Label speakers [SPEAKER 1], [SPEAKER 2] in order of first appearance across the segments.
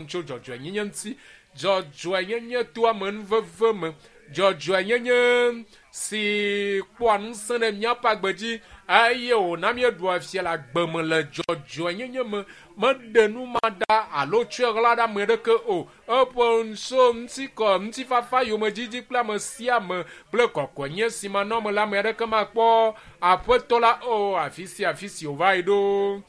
[SPEAKER 1] tso dzɔdzɔenyenye ŋuti. Dzɔdzɔenyenye to amenuveve me. Dzɔdzɔenyenye si kpɔa ŋusẽ ɖe míaƒe agbe dzi eye wòna míeɖua fia le agbe me le dzɔdzɔenyenye me. Meɖe nu ma ɖa alo tsɔe ɣla ɖe ame aɖeke o. Eƒe ŋusẽ, ŋutikɔ, ŋutifafa, yomedzidzi kple ame sia ame kple kɔkɔenye si manɔ eme la, ame aɖeke makpɔ Aƒetɔ la o. Afi sia afi si wòva yi ɖo,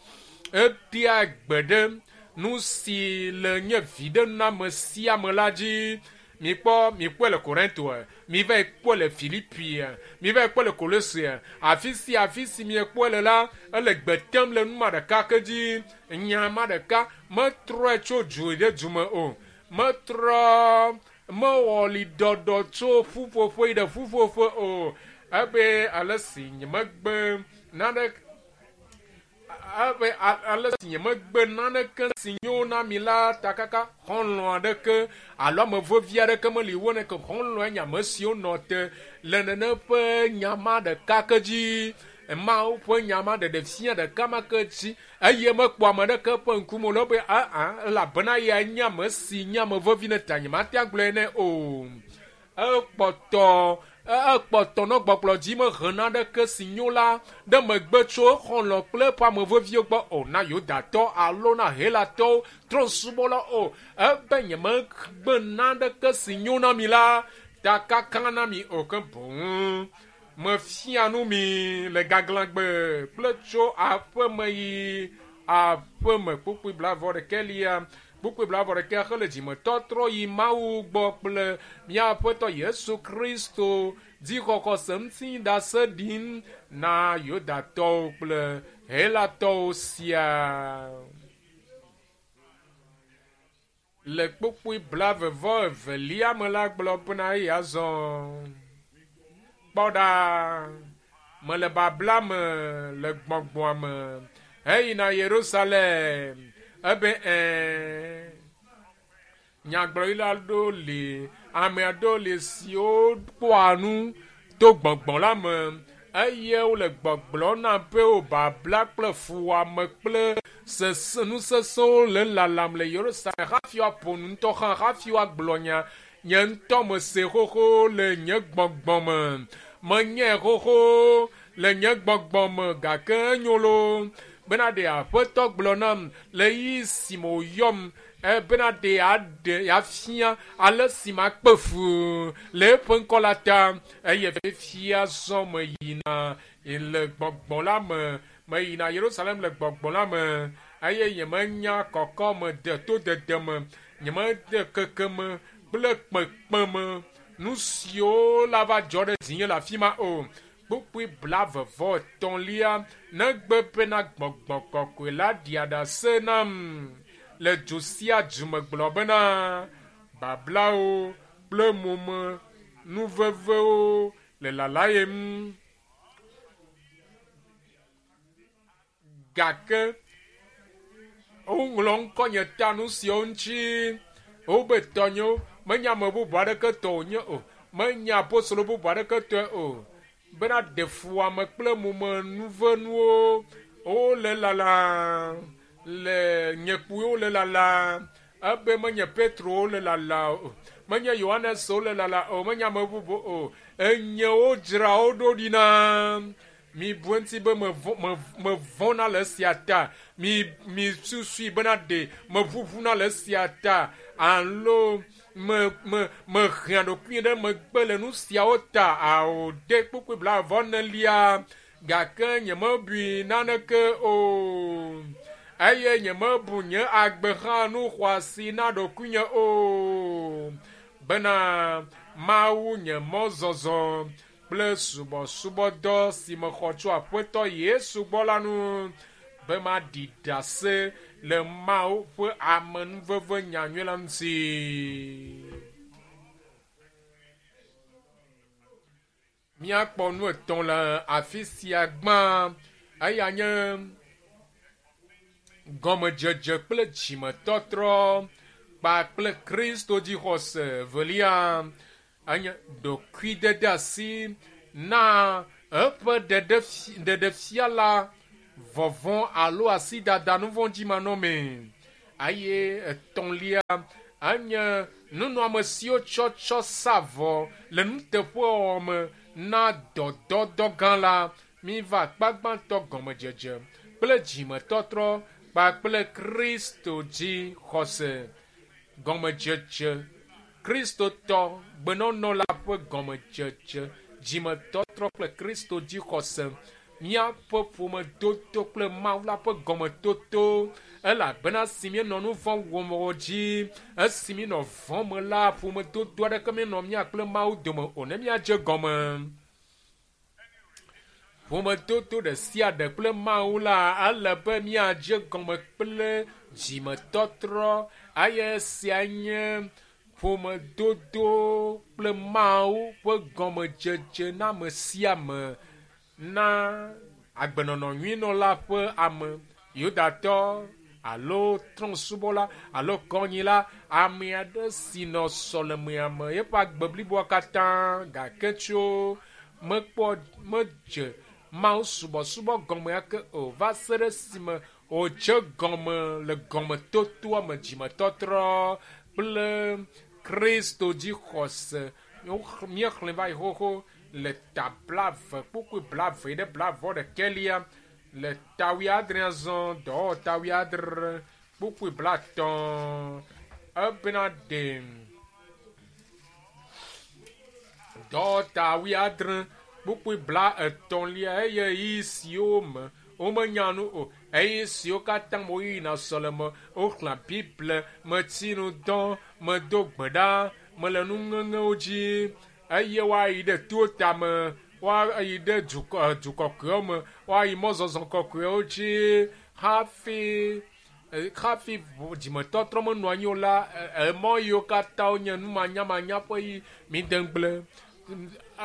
[SPEAKER 1] etea gbe ɖe nu si le nye viɖename sia me la dzi. Mikpɔ, mikpɔe le Korinto, mivae kpɔe le Filipi, mivae kpɔe le Kolose. Afi sia afi si miekpɔe le la, ele gbe tem le nu ma ɖeka ke dzi. Nya ma ɖeka metrɔe tso du ɖe du me o. Metrɔ mewɔ liɖɔɖɔ tso ƒuƒoƒe yi ɖe ƒuƒoƒe o. Ebe ale si nyemegbe nane ebe ale si nyemegbe naneke si nyo na mi la ta kaka xɔlɔ̃ aɖeke alo ame vevi aɖeke meli wo ne ke xɔlɔ̃e nye ame siwo nɔ te le nene ƒe nya ma ɖeka ke dzi. Mawu ƒe nya ma ɖeɖe fia ɖeka ma ke dzi eye mekpɔ ame aɖeke ƒe ŋkume o le be aa elabena eyae nye ame si nye ame vevi ne ta nyemate agblɔe nɛ o. Ekpɔtɔ ekpɔtɔ nɔ gbɔgblɔ dzi mehe naneke si nyo la ɖe megbe tso exɔlɔ̃ kple eƒe ame veviwo gbɔ o na Yudatɔ alo na Helatɔwo trɔ̃subɔla o. Ebe nyemegbe naneke si nyo na mi la ta kaka na mi o ke boŋ mefia nu mi le gaglãgbe kple tso aƒeme yi aƒeme. Kpukpui blaeve-vɔ-ɖekɛlia Kpukpui blaeve-vɔ-ɖekɛ hele dzimetɔtrɔ yi Mawu gbɔ kple mía Aƒetɔ Yesu Kristo dzixɔxɔse ŋuti ɖase ɖim na Yudatɔwo kple Helatɔwo siaa. Le kpukpui blaeve-vɔ-evelia me la gblɔ bena eye azɔ kpɔ ɖa, mele babla me le gbɔgbɔa me heyina Yerusalem. Ebe ɛ̃, nyagblɔɖila aɖewo li, ame aɖewo li siwo kpɔa nu to gbɔgbɔ la me eye wole gbɔgblɔm na be wo babla kple fuwɔame kple sese nu sesẽwo le lalam le Yerusalem hafi woaƒo nu ŋutɔ hã hafi woagblɔ nya. Nye ŋutɔ mese xoxo le nye gbɔgbɔ me. Menyae xoxo le nye gbɔgbɔ me gake enyo loo bena ɖe Aƒetɔ gblɔ nam le ɣeyiɣi si me wòyɔm bena ɖe yeaɖe yeafia ale si makpe fu le eƒe ŋkɔ la ta eye fifia zɔ meyina le gbɔgbɔ la me. Meyina Yerusalem le gbɔgbɔ la me eye nyemenya kɔkɔme de todede me, nyemede kekeme kple kpekpeme nu siwo la va dzɔ ɖe dzinye le afi ma o. Kpukpui blaeve-vɔ-etɔ̃lia negbe bena gbɔgbɔ kɔkɔe la ɖia ɖase nam le du sia du me gblɔ bena bablawo kple mome nuvevewo le lalayem. Gake woŋlɔ ŋkɔnye ta nu siawo ŋuti. Wobe tɔnyewo menye ame bubu aɖeke tɔ wònye o. Menye apostolo bubu aɖeke tɔe o. Bena ɖe fuwɔame kple momenuvenuwo wole lala le nye kpuiwo le lala. Ebe menye Petro wole lala o. Menye Yohanes wole lala o. Menye ame bubu o. Enye wodzra wo ɖo ɖi na. Mibu eŋuti be mevɔ̃na le esia ta. Mi mi susui bena ɖe meʋuʋuna le esia ta alo me me mehea ɖokuinye ɖe megbe le nu siawo ta. Ao ɖe kpukpui blaeve-vɔ-enelia gake nyemebui naneke o eye nyemebu nye agbe hã nu xɔasi na ɖokuinye o bena Mawu nye mɔzɔzɔ kple subɔsubɔdɔ si mexɔ tso Aƒetɔ Yesu gbɔ la nu be maɖi ɖase le Mawu ƒe amenuveve nyanyui la ŋuti. Míakpɔ nu etɔ̃ le afi sia gbã. Eya nye gɔmedzedze kple dzimetɔtrɔ kpakple Kristo dzixɔse. Evelia enye ɖokuidedeasi na eƒe ɖeɖefia la vɔvɔ̃ alo asidada nuvɔ̃dzimanɔmee. Eye etɔ̃lia enye nunɔamesiwo tsɔtsɔ sa vɔ le nuteƒewɔwɔ me na dɔdɔdɔ gã la. Miva akpa gbãtɔ gɔmedzedze kple dzimetɔtrɔ kpakple Kristo dzi xɔse. Gɔmedzedze Kristotɔ gbenɔnɔ la ƒe gɔmedzedze dzimetɔtrɔ kple Kristo dzi xɔse. Míaƒe ƒomedodo kple Mawu la ƒe gɔmetoto elabena si míenɔ nu vɔ̃ wɔm o dzi esi míenɔ vɔ̃ me la ƒomedodo aɖeke míenɔ mía kple Mawu dome o ne míadze gɔme. Ƒomedodo ɖe sia ɖe kple Mawu la ele be míadze gɔme kple dzimetɔtrɔ eye esia nye ƒomedodo kple Mawu ƒe gɔmedzedze na ame sia ame na agbenɔnɔ nyuinɔla ƒe ame Yudatɔ alo trɔ̃subɔla alo kɔnyila ame aɖe si nɔ sɔlemea me eƒe agbe bliboa katã gake tso mekpɔ medze Mawu subɔsubɔ gɔme ake o va se ɖe esime wòdze gɔme le gɔmetotoa me dzimetɔtrɔ kple Kristo dzi xɔse. Míexlẽ va yi xoxo le ta blave kpukpui blave ɖe blavɔ ɖekɛlia le ta wuiadre azɔ dɔwɔwɔ ta wuiadre kpukpui blatɔ̃ ebena ɖe dɔwɔta wuiadre kpukpui bla etɔ̃lia eye ɣeyiɣi siwo me womenya nu o eye siwo katã me woyina sɔleme woxlẽa Biblia metsi nu dɔ medo gbe ɖa mele nuŋeŋewo dzi eye woayi ɖe to tame woayi ɖe dukɔ du kɔkɔewo me woayi mɔzɔzɔ kɔkɔewo dzi hafi hafi dzimetɔtrɔ menɔ anyi o la emɔ yiwo katã wonye numanyamanya ƒe yi mide ŋugble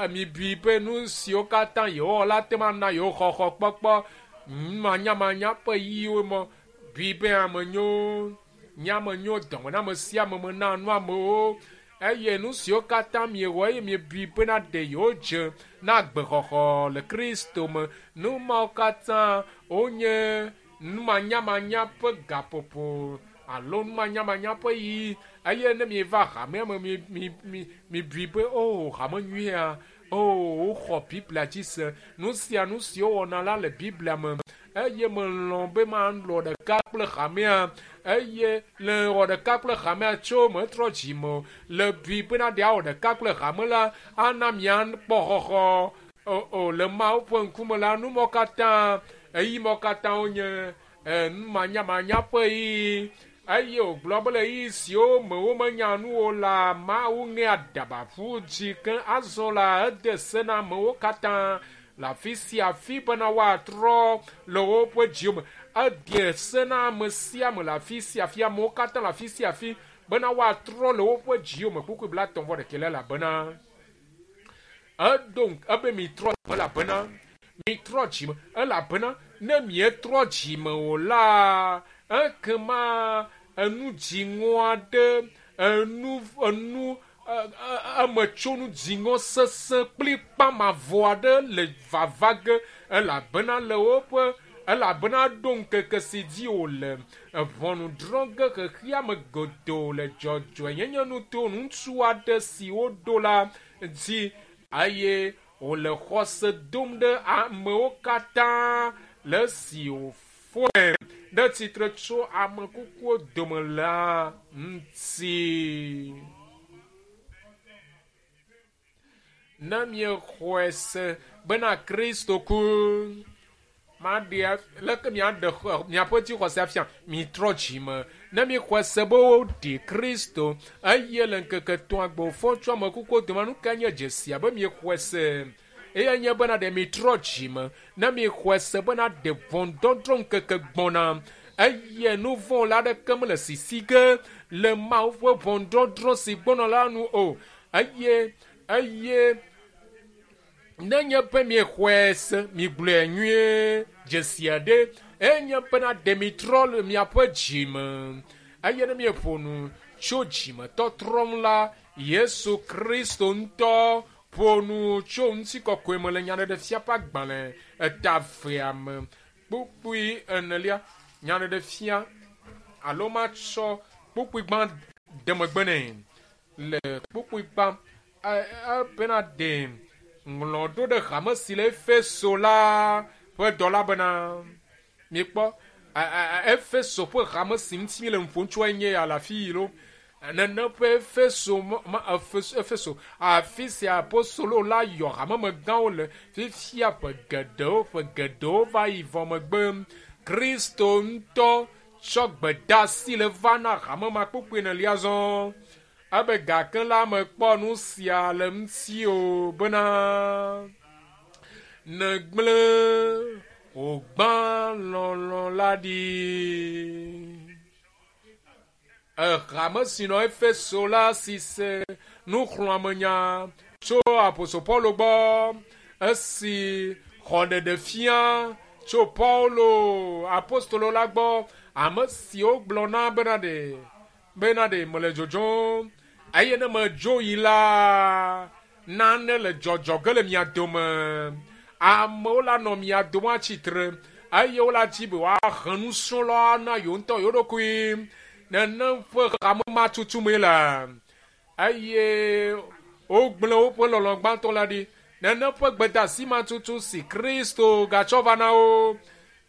[SPEAKER 1] mibui be nu siwo katã yewowɔ la te ma na yewo xɔxɔ kpɔkpɔ numanyamanya ƒe yiwo mɔ bui be ame nyo nye ame nyo dɔme na ame sia ame mena nu amewo eye nu siwo katã miewɔ eye miebui bena ɖe yewodze na agbexɔxɔ le Kristo me nu mawo katã wonye numanyamanya ƒe gaƒoƒo alo numanyamanya ƒe yi eye ne mieva hamea me mi mi mi mibui be o hame nyuia o woxɔ Biblia dzi se nu sia nu si wowɔna la le Biblia me eye melɔ̃ be malɔ ɖeka kple hamea eye le wɔ ɖeka kple hamea tso metrɔ dzime o le bui bena ɖe awɔ ɖeka kple hame la ana miakpɔ xɔxɔ o o le Mawu ƒe ŋkume la numɔ katã eyi mɔ katã wonye numanyamanya ƒe ɣeyiɣi eye wògblɔ be le ɣeyiɣi siwo me womenya nu o la Mawu ŋe aɖaba ƒu dzi ke azɔ la ede se na amewo katã le afi sia afi bena woatrɔ le woƒe dziwo me. Ede se na ame sia ame le afi sia afi amewo katã le afi sia afi bena woatrɔ le woƒe dziwo me kpukpui blatɔ̃ vɔ ɖekɛ elabena eɖo ebe mitrɔ elabena mitrɔ dzime elabena ne mietrɔ dzime o la ekema enu dziŋɔ aɖe enu enu emetsonu dziŋɔ sesẽ kple kpamavɔ aɖe le vava ge elabena le woƒe elabena ɖo ŋkeke si dzi wòle ʋɔnu drɔ̃ ge xexeame godoo le dzɔdzɔenyenye nuto ŋutsu aɖe si woɖo la dzi eye wòle xɔse dom ɖe amewo katã le esi wòfɔe ɖe tsitre tso ame kukuwo dome la ŋuti. Ne miexɔe se bena Kristo ku maɖe leke miaɖe miaƒe dzixɔse afia mitrɔ dzime ne miexɔe se be woɖi Kristo eye le ŋkeke etɔ̃a gbe wòfɔ tso ame kukuwo dome nu ka nye dzesia be miexɔe se eye nye bena ɖe mitrɔ dzime ne miexɔe se bena ɖe ʋɔnudɔdrɔ̃ ŋkeke gbɔna eye nu vɔ̃ la aɖeke mele sisi ge le Mawu ƒe ʋɔnudɔdrɔ̃ si gbɔna la nu o eye eye nenye be miexɔe se migblɔe nyuie dzesi aɖe enye bena ɖe mitrɔ le miaƒe dzime eye ne mieƒo nu tso dzimetɔtrɔ ŋu la Yesu Kristo ŋutɔ ƒo nu tso ŋutikɔkɔe me le nyaɖeɖefia ƒe agbalẽ eta evea me kpukpui enelia nyaɖeɖefia alo matsɔ kpukpui gbã de megbe nɛ le kpukpui gbã ebena ɖe ŋlɔ ɖo ɖe hame si le Efeso la ƒe dɔla bena miekpɔ Efeso ƒe hame si ŋuti mi le nu ƒom tso enye ya le afi yi lo nene ƒe Efeso ma Efeso afi sia apostolo la yɔ hamemegãwo le fifia ƒe geɖewo va yi vɔ megbe Kristo ŋutɔ tsɔ gbedeasi le va na hame ma kpukpui enelia zɔ ebe gake la mekpɔ nu sia le ŋuti o bena negblẽ wògbã lɔlɔ̃ la ɖi. Hame si nɔ Efeso la si se nuxlɔ̃amenya tso apostol Paulo gbɔ esi xɔ ɖeɖe fia tso Paulo apostolo la gbɔ ame siwo gblɔ na bena ɖe mele dzodzom eye ne medzo yi la nane le dzɔdzɔ ge le mia dome amewo la nɔ mia dome atsitre eye wola dzi be woahe nusrɔ̃lawo na yewo ŋutɔ yewo ɖokui nenem ƒe hame ma tutum le eye wogblẽ woƒe lɔlɔ̃ gbãtɔ la ɖi nenem ƒe gbedeasi ma tutu si Kristo gatsɔ va na wo.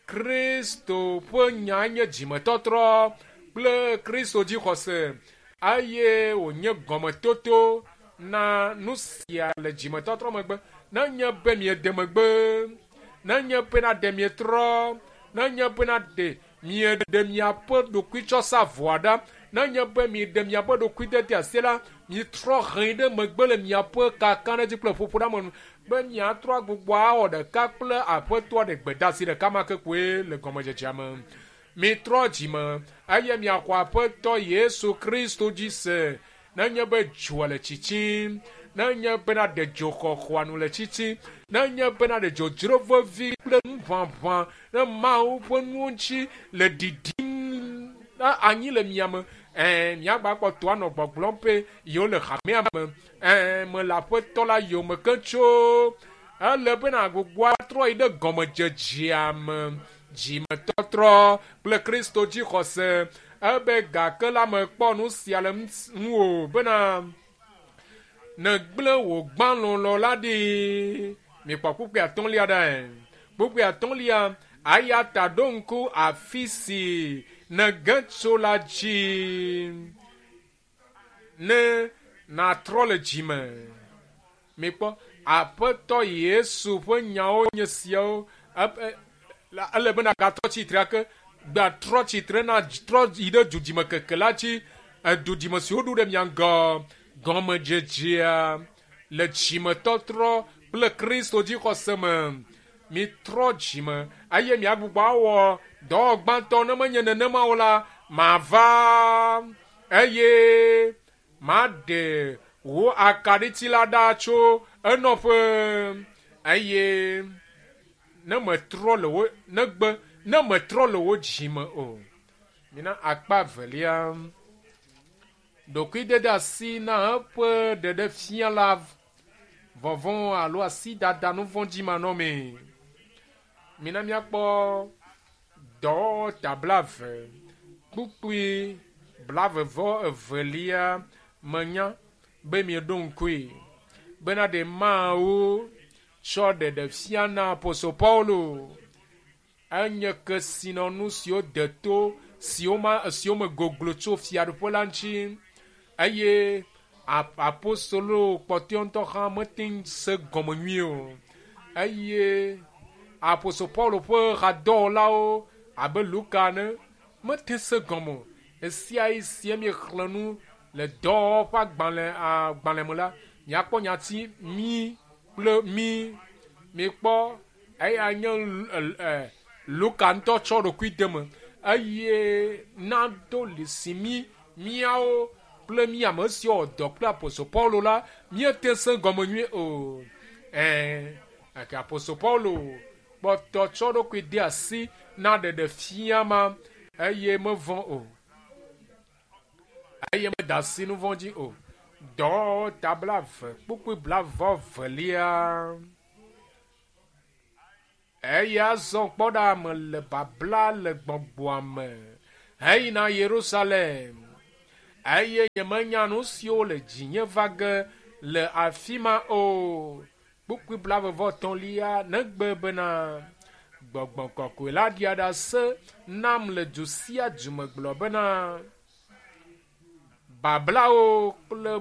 [SPEAKER 1] Kristo ƒe nya nye dzimetɔtrɔ kple Kristo dzixɔse eye wònye gɔmetoto na nu sia le dzimetɔtrɔ megbe. Nenye be miede megbe, nenye bena ɖe mietrɔ, nenye bena ɖe mieɖe miaƒe ɖokuitsɔsavɔa ɖa, nenye be mieɖe miaƒe ɖokuidede asi la, mietrɔ hẽ ɖe megbe le miaƒe kakaɖedzi kple ƒoƒoɖeamenu be miatrɔ agbugbɔ awɔ ɖeka kple aƒetɔa ɖe gbedeasi ɖeka ma ke koe le gɔmedzedzea me. Mitrɔ dzime eye miaxɔ aƒetɔ Yesu Kristo dzi se. Nenye be dzoa le tsitsim, nenye bena ɖe dzoxɔxɔa nu le tsitsim, nenye bena ɖe dzodzro vevi kple nuʋaʋã ne Mawu ƒe nuwo ŋuti le ɖiɖim anyi le mia me, miagba kpɔtɔ anɔ gbɔgblɔm be yewo le hamea me, mele aƒetɔ la yome ke tso ele bena gbogbo atrɔ yi ɖe gɔmedzedzea me, dzimetɔtrɔ kple Kristo dzixɔse ebe gake la mekpɔ nu sia le ŋuwò bena negblẽ wò gbã lɔlɔ̃ la ɖi. Mikpɔ kpukpui atɔ̃lia ɖae. Kpukpui atɔ̃lia eya ta ɖo ŋku afi si nege tso la dzi ne natrɔ le dzime. Mikpɔ aƒetɔ Yesu ƒe nyawo nye siawo. Ele bena gatrɔ tsitre ake gbatrɔ tsitre na trɔ yi ɖe dudzime keke la dzi dudzime si woɖo ɖe mia ŋgɔ gɔmedzedzea le dzimetɔtrɔ kple Kristo dzixɔse me. Mitrɔ dzime eye miagbugbɔ awɔ dɔwɔ gbãtɔ ne menye nenema o la mava eye maɖe wò akaɖiti la ɖa tso enɔƒe eye ne metrɔ le wo negbe ne metrɔ le wo dzime o. Mina akpa evelia ɖokuidede asi na eƒe ɖeɖefia la vɔvɔ̃ alo asidada nu vɔ̃ dzi manɔmee. Mina miakpɔ dɔwɔwɔ ta 20 kpukpui 22 menya be mieɖo ŋkui bena ɖe Mawu tsɔ ɖeɖefia na apostol Paulo enye kesinɔnu siwo de to siwo me goglo tso fiaɖuƒe la ŋuti eye apostolo kpɔtɔewo ŋutɔ hã mete ŋu se gɔme nyuie o eye apostol Paulo ƒe hadɔwɔlawo abe Luka ene mete se gɔme o. Esia yi sie miexlẽ nu le dɔwɔwɔ ƒe agbalẽ me la, miakpɔ nyati mi kple mi. Mikpɔ eya nye Luka ŋutɔ tsɔ ɖokui de me eye nado lisi mi miawo kple mi ame siwo wɔ dɔ kple apostol Paulo la míete se gɔme nyuie o. Gake apostol Paulo kpɔtɔ tsɔ ɖokui de asi na ɖeɖefia ma eye mevɔ̃ o eye meda asi nu vɔ̃ dzi o. Dɔwɔwɔ ta 20 kpukpui 22. Eya zɔ kpɔ ɖa mele babla le gbɔgbɔa me. heyina Yerusalem eye nyemenya nu siwo le dzinye va ge le afi ma o. Kpukpui blaeve-vɔ-etɔ̃lia negbe bena Gbɔgbɔ Kɔkɔe la ɖia ɖase nam le du sia du me gblɔ bena bablawo kple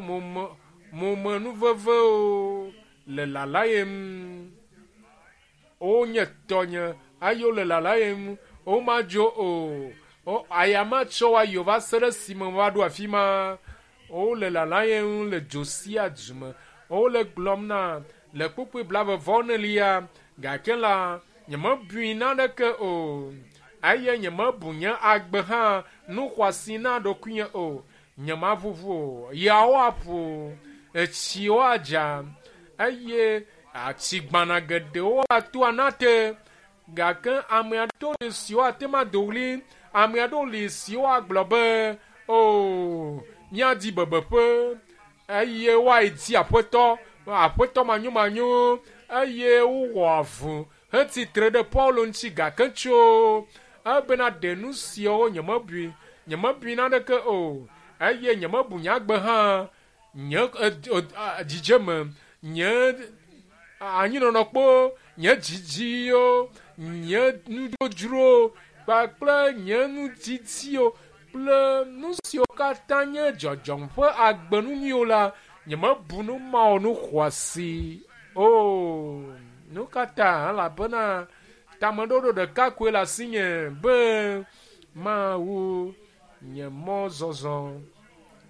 [SPEAKER 1] momenuvevewo le lalayem. Wonye tɔnye eye wole lalayem. Womadzo o. Aya matsɔ wo ayi o va se ɖe esime woaɖo afi ma. Wole lalayem le dzo sia du me. Wole gblɔm na le kpukpui blaeve-vɔ-enelia gake la nyemebui naneke o eye nyemebu nye agbe hã nu xɔasi na ɖokuinye o. Nyemaʋuʋu o. Yawo aƒo, etsiwo adza eye atigbana geɖewo ato anate gake ame aɖewo li siwo ate ŋu ado ɣli, ame aɖewo li siwo agblɔ be o míadi bebeƒe eye woayi di aƒetɔ, aƒetɔ manyomanyo eye wowɔ avu hetsitre ɖe Paulo ŋuti gake tso ebena ɖe nu siawo nyemebui, nyemebui naneke o eye nyemebu nye agbe hã nye dzidzeme, nye anyinɔnɔkpo, nye dzidziwo, nye nudzodzrowo kpakple nye nudidiwo kple nu siwo katã nye dzɔdzɔm ƒe agbenu nyuiwo la, nyemebu nu mawo nu xɔasi o. Nu ka ta? Elabena tameɖoɖo ɖeka koe le asinye be mawu nye mɔzɔzɔ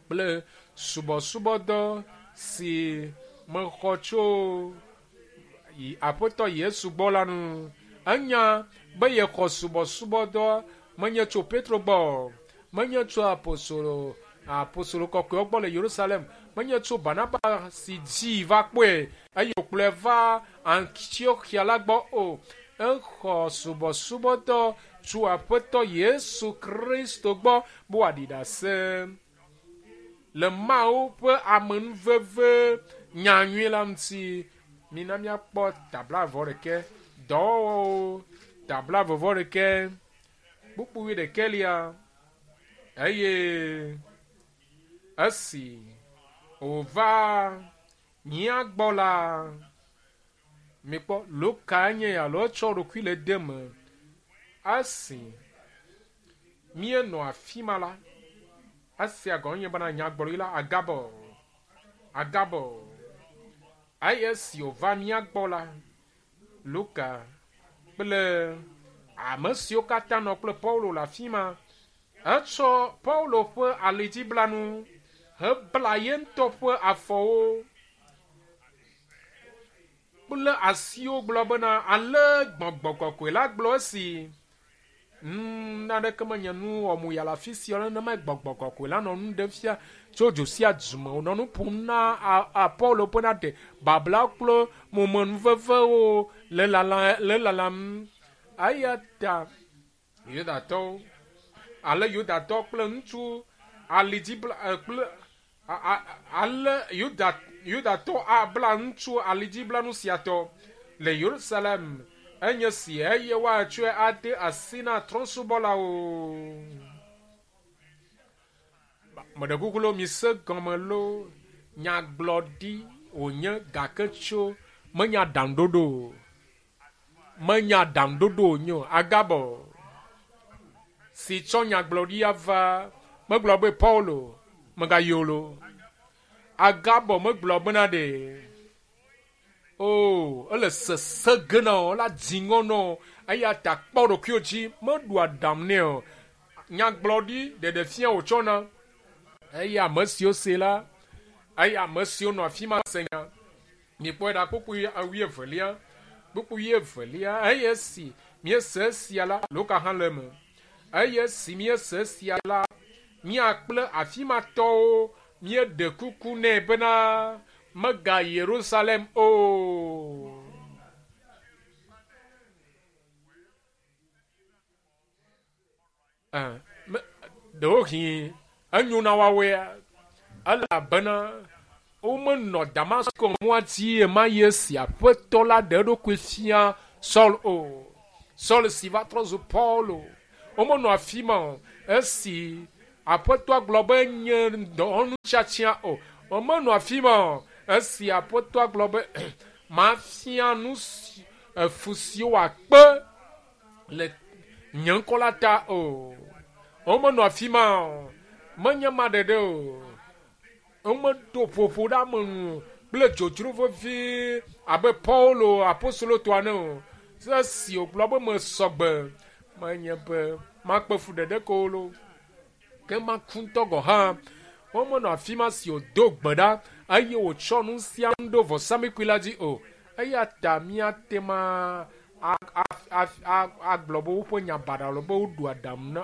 [SPEAKER 1] kple subɔsubɔdɔ si mexɔ tso Aƒetɔ Yesu gbɔ la nu. Enya be yexɔ subɔsubɔdɔ menye tso Petro gbɔ, menye tso apostolo apostolo kɔkɔewo gbɔ le Yerusalem, menye tso Barnaba si dzi va kpɔe eye wòkplɔe va Antiochia la gbɔ o. Exɔ subɔsubɔdɔ tso Aƒetɔ Yesu Kristo gbɔ be wòaɖi ɖase le Mawu ƒe amenuveve nyanyui la ŋuti. Mina míakpɔ ta blaeve-vɔ-ɖekɛ, dɔwɔwɔwo ta blaeve-vɔ-ɖekɛ, kpukpui ɖekɛlia eye esi wòva mía gbɔ la, mikpɔ Luka nye alo etsɔ ɖokui le de me. Esi míenɔ afi ma la, esia gɔme nye bena nyagblɔɖi la Agabo, Agabo. Eye esi wòva mía gbɔ la, Luka kple ame siwo katã nɔ kple Paulo le afi ma, etsɔ Paulo ƒe alidziblanu hebla ye ŋutɔ ƒe afɔwo kple asiwo gblɔ bena ale Gbɔgbɔ Kɔkɔe la gblɔ esi naneke menye nu wɔmu ya le afi sia nenema Gbɔgbɔ Kɔkɔe la nɔ nu ɖem fia tso dzo sia du me wònɔ nu ƒom na Paulo bena ɖe babla kple momenuvevewo le lalam. Eya ta Yudatɔwo ale Yudatɔ kple ŋutsu alidzibla kple ale Yudatɔ abla ŋutsu alidziblanu sia tɔ le Yerusalem enye si eye woatsɔe ade asi na trɔ̃subɔlawo. Meɖe kuku lo mise gɔme lo nyagblɔɖi wònye gake tso menya aɖaŋuɖoɖo o. Menya aɖaŋuɖoɖo wònye o. Agabo si tsɔ nyagblɔɖia va megblɔ be Paulo megayi o lo. Agabo megblɔ bena ɖe o ele sese ge na wo, ela dzi ŋɔ na wo eya ta kpɔ ɖokuiwo dzi meɖu aɖaŋu nɛ o. Nyagblɔɖi ɖeɖefia wòtsɔna eye ame siwo se la eye ame siwo nɔ afi ma se nya. Mikpɔe ɖa kpukpui wuievelia, kpukpui wuievelia eye esi míese esia la, Luka hã le eme. Eye esi míese esia la, mía kple afi ma tɔwo míeɖe kuku nɛ bena megayi Yerusalem o. Ɖewohĩ enyo na woawoea elabena womenɔ Damasko mɔa dzi ɣemaɣi esi Aƒetɔ la ɖe eɖokui fia Saul o. Saul si va trɔ zu Paulo. Womenɔ afi ma o. Esi Aƒetɔa gblɔ be nye dɔwɔnu tiatia o. Womenɔ afi ma o. Esi Aƒetɔa gblɔ be mafia nu si efu siwo wòakpe le nye ŋkɔ la ta o. Womenɔ afi ma o. Menye ma ɖeɖe o. Womeɖo ƒoƒo ɖe ame nu kple dzodzro vevie abe Paulo apostolo tɔ ene o. Esi wògblɔ be mesɔgbe, menye be makpe fu ɖeɖe ko o lo, ke maku ŋutɔ gɔ̃ hã. Womenɔ afi ma si wòdo gbe ɖa eye wòtsɔ nu sia nu ɖo vɔsamlekpui la dzi o. Eya ta míate ma agblɔ be woƒe nya baɖa alo be woɖu aɖaŋu na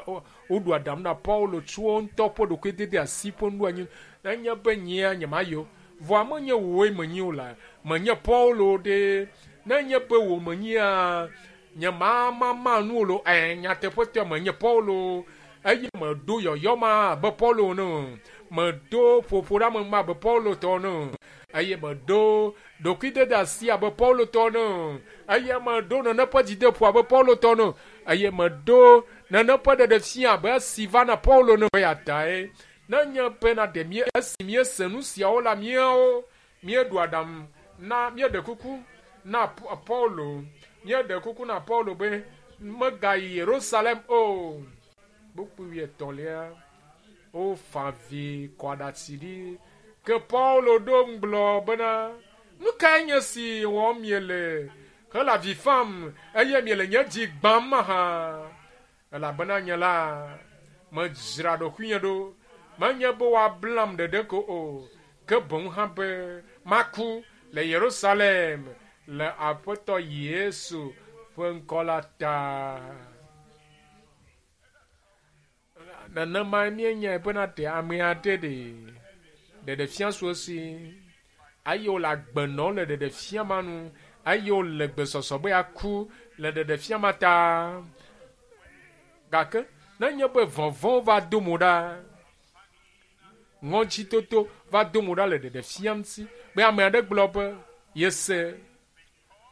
[SPEAKER 1] woɖu aɖaŋu na Paulo tso wo ŋutɔ ƒe ɖokuidede asi ƒe nuɖoanyi. Nenye be nyea nyemayi o. Vɔa menye wòe menyi o la, menye Paulo ɖe. Nenye be wò menyia, nyemamama nu o lo. Ɛ, nyateƒetɔe menye Paulo. Eye meɖo yɔyɔ ma abe Paulo ene o. Meɖo ƒoƒo ɖe ame ma abe Paulo tɔ ene o. Eye meɖo ɖokuidede asi abe Paulo tɔ ene o. Eye meɖo nene ƒe dzideƒo abe Paulo tɔ ene o. Eye meɖo nene ƒe ɖeɖefia abe esi va na Paulo ene o. Eya tae nenye bena ɖe mí esi míese nu siawo la míawo míeɖo aɖaŋu na míeɖe kuku na Paulo míeɖe kuku na Paulo be megayi Yerusalem o. Kpukpui wuietɔ̃lia wofa avi kɔ aɖatsi ɖi. Ke Paulo ɖo ŋu gblɔ bena, nu kae nye si wɔm miele hele avi fam eye miele nye dzi gbãm mahã? Elabena nye la, medzra ɖokuinye ɖo. Menye be woablam ɖeɖe ko o, ke boŋ hã be maku le Yerusalem le Aƒetɔ Yesu ƒe ŋkɔ la ta. Nenemae míenyae bena ɖe ame aɖe ɖe ɖeɖefia su esi eye wòle agbe nɔm le ɖeɖefia ma nu eye wòle gbesɔsɔ be yeaku le ɖeɖefia ma ta. Gake nenye be vɔvɔ̃ va do mo ɖa, ŋɔdzitoto va do mo ɖa le ɖeɖefia ŋuti be ame aɖe gblɔ be yese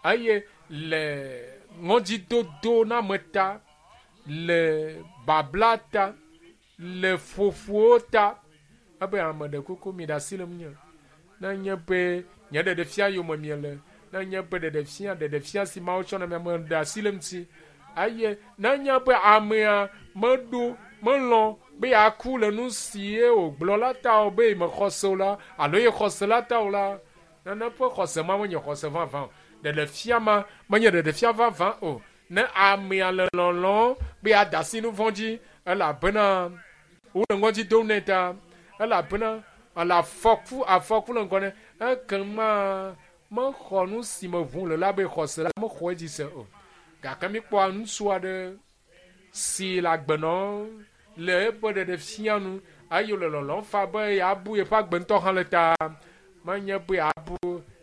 [SPEAKER 1] eye le ŋɔdzidodo na ame ta, le babla ta, le ƒoƒowo ta, ebe ame ɖe kuku mi ɖe asi le ŋunye. Nenye be nye ɖeɖefia yome miele, nenye be ɖeɖefia ɖeɖefia si Mawu tsɔ na mi ame ɖe asi le ŋuti eye nenye be amea meɖo melɔ̃ be yeaku le nu si ye wògblɔ la ta o be mexɔ se o la alo ye xɔ se la ta o la, nene ƒe xɔse ma menye xɔse vavã o. Ɖeɖefia ma menye ɖeɖefia vavã o. Ne amea le lɔlɔ̃ be yeada asi nu vɔ̃ dzi elabena wole ŋɔdzi dom nɛ ta, elabena ele afɔku afɔku le ŋgɔ nɛ ekema mexɔ nu si me ʋum le la be xɔse la mexɔ edzi se o. Gake míkpɔa ŋutsu aɖe si le agbe nɔm le eƒe ɖeɖefia nu eye wòle lɔlɔ̃m faa be yeabu yeƒe agbe ŋutɔ hã le ta. Menye be yeabu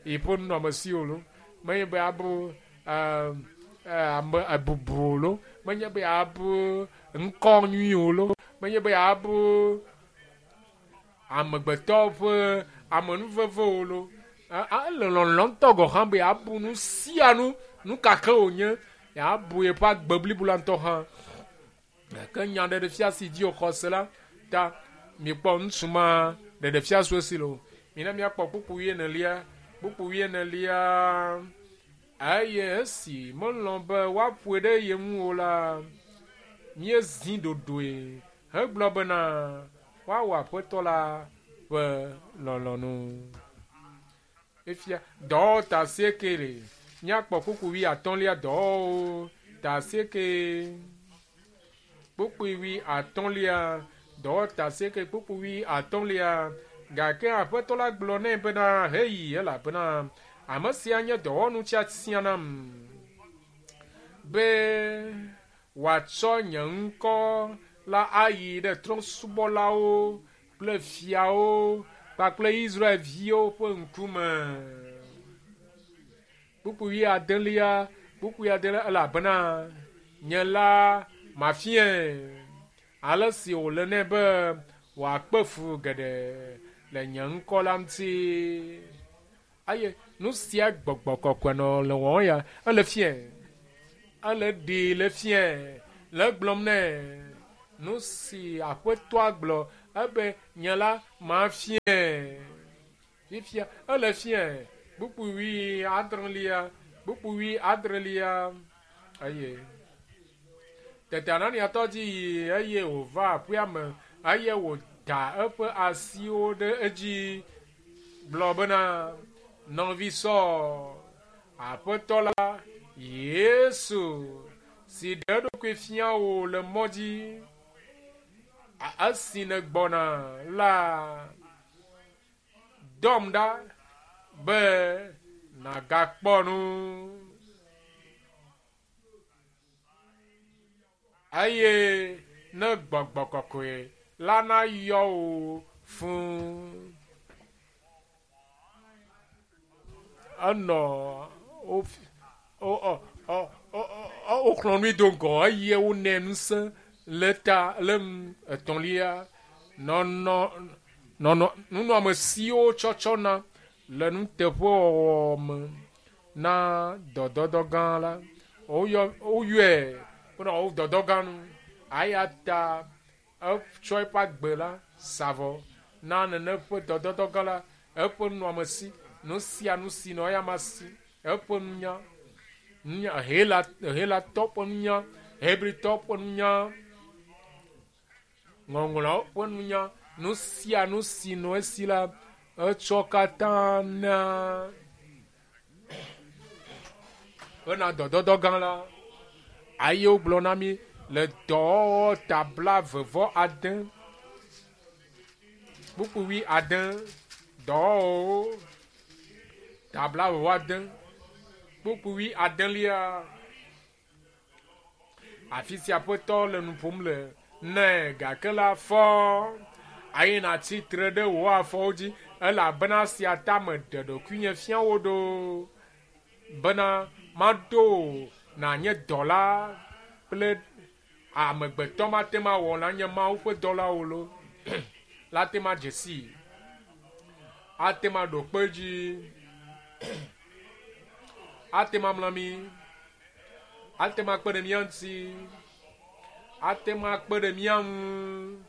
[SPEAKER 1] yeƒe nunɔamesi o lo, menye be yeabu ame bubu o lo, menye be yeabu ŋkɔ nyui o lo, menye be yeabu amegbetɔ ƒe amenuveve o lo. Ele lɔlɔ̃ ŋutɔ gɔ̃ hã be yeabu nu sia nu, nu ka ke wònye, yeabu yeƒe agbe blibo la ŋutɔ hã. Gake nya ɖeɖefia si dzi wòxɔ se la ta mikpɔ ŋutsu ma ɖeɖefia su esi le o. Mina míakpɔ kpukpui wuienelia, kpukpui wuienelia eye esi melɔ̃ be woaƒoe ɖe ye ŋu o la, míezi ɖoɖoe hegblɔ bena woawɔ Aƒetɔ la ƒe lɔlɔ̃nu. Efia dɔwɔwɔ ta asieke le. Míakpɔ kpukpui wuiatɔ̃lia dɔwɔwɔwo ta asieke. Kpukpui wuiatɔ̃lia dɔwɔwɔ ta asieke kpukpui wuiatɔ̃lia. Gake Aƒetɔ la gblɔ nɛ bena heyi elabena ame sia nye dɔwɔnu tiatia nam be wòatsɔ nye ŋkɔ la ayi ɖe trɔ̃subɔlawo kple fiawo kpakple Israelviwo ƒe ŋkume. Kpukpui wuiadelia, kpukpui adelia elabena nye la mafiae ale si wòle nɛ be wòakpe fu geɖe le nye ŋkɔ la ŋuti. Eye nu sia gbɔgbɔ kɔkɔe nɔ le wɔm ya, ele fiae. Ele ɖee le fiae. Le egblɔm nɛ nu si aƒetɔa gblɔ ebe nye la mafiae. Fifia ele fiae. Kpukpui wui adrelia, kpukpui wui adrelia eye tete Anania tɔ dzi yi eye wòva aƒea me eye wòda eƒe asiwo ɖe edzi gblɔ bena nɔvi Saul, Aƒetɔ la Yesu si ɖe eɖokui fia wò le mɔ dzi esi nègbɔna la dɔm ɖa be nàgakpɔ nu. Eye ne gbɔgbɔ kɔkɔe la nayɔ wò fũu. Enɔ woxlɔ̃ nui do ŋgɔ eye wonɛ ŋusẽ le ta le nu etɔ̃lia nɔnɔ nɔnɔ nunɔamesiwo tsɔtsɔ na le nuteƒewɔwɔ me na dɔdɔdɔ gã la. Woyɔ woyɔe bena wòawu dɔdɔ gã nu. Eya ta etsɔ eƒe agbe la sa vɔ na nene ƒe dɔdɔdɔ gã la, eƒe nunɔamesi, nu sia nu si nɔ eyama si, eƒe nunya, nunya Hela Helatɔ ƒe nunya, Hebritɔ ƒe nunya, Ŋɔŋlɔawo ƒe nunya, nu sia nu si nɔ esi la, etsɔ katã na hena dɔdɔdɔ gã la. Eye wogblɔ na mí le dɔwɔwɔ ta blaeve-vɔ-ade, kpukpui wuiade, dɔwɔwɔwo ta blaeve-vɔ-ade, kpukpui wuiadelia. Afi sia Aƒetɔ le nu ƒom le nɛ gake la fɔ eye nàtsi tre ɖe wò afɔwo dzi elabena esia ta meɖe ɖokuinye fia wò ɖo bena maɖo wò nànye dɔla kple amegbetɔ mate ŋu awɔ nanye Mawu ƒe dɔla o lo la te ŋu adze sii, ate ŋu aɖo kpe edzi, ate ŋu amla mí. Ate ŋu akpe ɖe mía ŋuti. Ate ŋu akpe ɖe mía ŋu.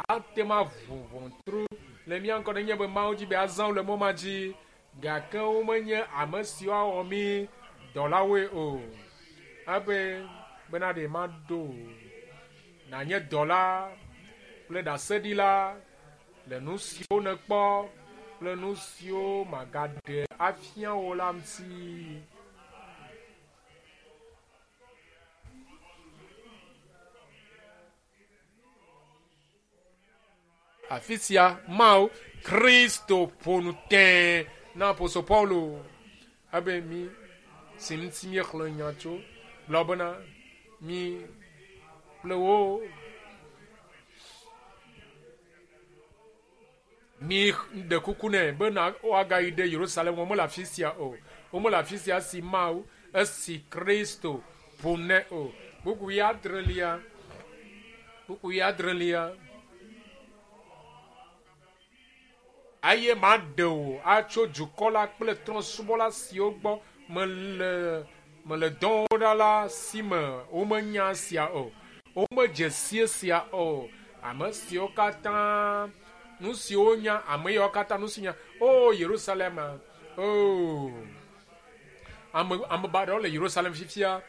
[SPEAKER 1] Ate ŋu aʋu ʋɔtru le mía ŋgɔ nenye be Mawu dzi be azã wo le mɔ ma dzi. Gake womenye ame siwo awɔ mí dɔlawoe o. Ebe bena ɖe maɖo nànye dɔla kple ɖaseɖila le nu siwo nèkpɔ kple nu siwo magaɖe afia wò la ŋuti. Afi sia Mawu Kristo ƒo nu tẽe na apostol Paulo ebe mi si ŋuti míexlẽ nya tso gblɔ bena mi kple wo Mi ɖe kuku nɛ be na woagayi ɖe Yerusalem. Womele afi sia o. Womele afi sia esi Mawu, esi Kristo ƒo nɛ o. Kpukpui adrelia. Kpukpui adrelia. Eye maɖe wò atso dukɔ la kple trɔ̃subɔla siwo gbɔ mele mele dɔwɔm ɖa la si me. Womenya esia o. Womedze si esia o. Ame siwo katã nu siwo nya, ame yawo katã nu si nya. O Yerusalem, o ame ame baɖawo le Yerusalem fifia.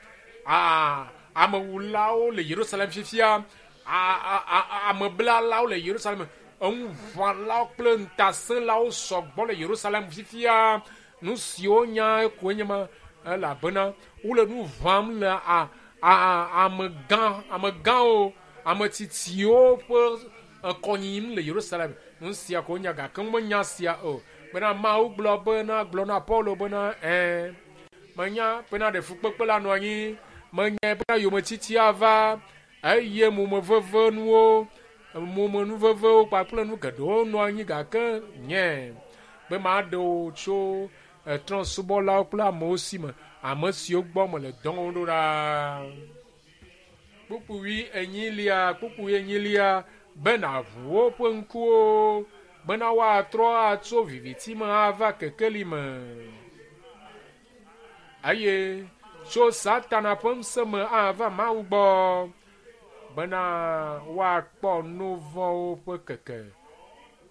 [SPEAKER 1] A amewulawo le Yerusalem fifia. A a ameblalawo le Yerusalem. Eŋuʋãlawo kple ŋutasẽlawo sɔgbɔ le Yerusalem fifia. Nu siwo nya koe nye ma elabena wole nu ʋãm le a a amegã amegãwo ame tsitsiwo ƒe kɔnyim le Yerusalem. Nu sia ko nya gake womenya sia o. Bena Mawu gblɔ bena gblɔ na Paulo bena ɛ̃ menya bena ɖe fukpekpe la nɔ anyi, menya bena yometiti ava eye momevevenuwo momenuvevewo kpakple nu geɖewo nɔ anyi gake nye be maɖe wò tso trɔ̃subɔlawo kple amewo si me, ame siwo gbɔ mele dɔm ɖo ɖa. Kpukpui enyilia, kpukpui enyilia, be nàʋu woƒe ŋkuwo bena woatrɔ atso viviti me ava kekeli me. Eye tso Satana ƒe ŋusẽ me ava Mawu gbɔ bena woakpɔ nu vɔ̃wo ƒe keke.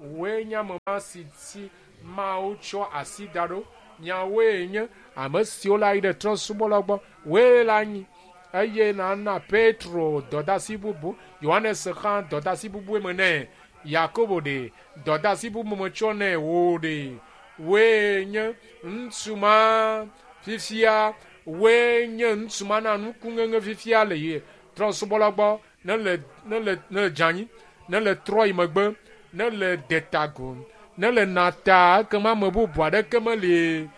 [SPEAKER 1] Wòe nye ame ma si dzi Mawu tsɔ asi da ɖo. Miawoe nye ame siwo la yi ɖe trɔ̃subɔlawo gbɔ. Wòe le anyi eye nàna Petro dɔdeasi bubu, Yohanes hã dɔdeasi bubue me nɛ, Yakobo ɖe dɔdeasi bubu metsɔ nɛ, wò ɖe. Wòe nye ŋutsu ma fifia, wòe nye ŋutsu ma na nukuŋeŋe fifia le trɔ̃subɔlawo gbɔ ne le ne le ne le dze anyi, ne le trɔ yi megbe, ne le detago, ne le nata ekema ame bubu aɖeke meli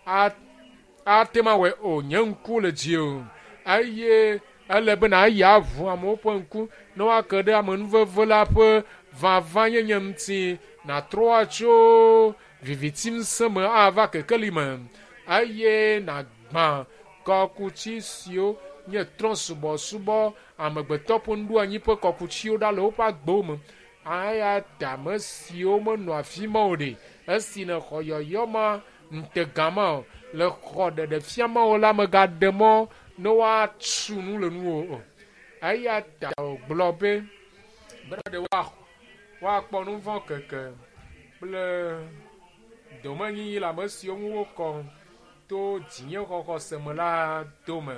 [SPEAKER 1] ate ŋu awɔe o. Nye ŋku le dziwò eye ele be nàyi aʋu amewo ƒe ŋku ne woake ɖe amenuveve la ƒe vavãnyenye ŋuti. Nàtrɔ atso viviti ŋusẽ me ava kekeli me eye nàgbã kɔkuti siwo nye trɔ̃subɔsubɔ amegbetɔ ƒe nuɖoanyi ƒe kɔkutiwo ɖa le woƒe agbewo me. Eya ta ame siwo menɔ afi ma o ɖe, esi nèxɔ yɔyɔ ma ŋutega ma o, le xɔ ɖeɖefia ma o la, mègaɖe mɔ ne woatu nu le nuwò o. Eya ta wògblɔ be bena ɖe woakpɔ nu vɔ̃ keke kple domenyinyi le ame siwo ŋu wokɔ to dzinyexɔxɔ me la dome.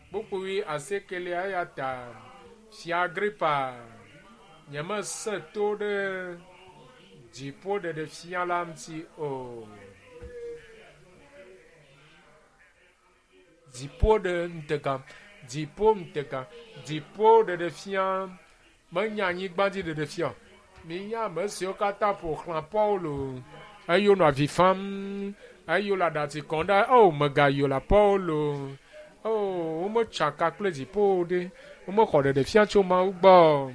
[SPEAKER 1] Kpukpui asiekelia eya ta Fia Agripa, nyemesẽ to ɖe dziƒo ɖeɖefia la ŋuti o. Dziƒo ɖe ŋutega, dziƒo ŋutega, dziƒo ɖeɖefia menye anyigba dzi ɖeɖefia o. Minya ame siwo katã ƒo xlã Paulo eye wonɔ avi fam eye wole aɖatsi kɔm ɖa. O, mègayɔ la Paulo. O, wometsaka kple dziƒo ɖe. Womexɔ ɖeɖefia tso Mawu gbɔ.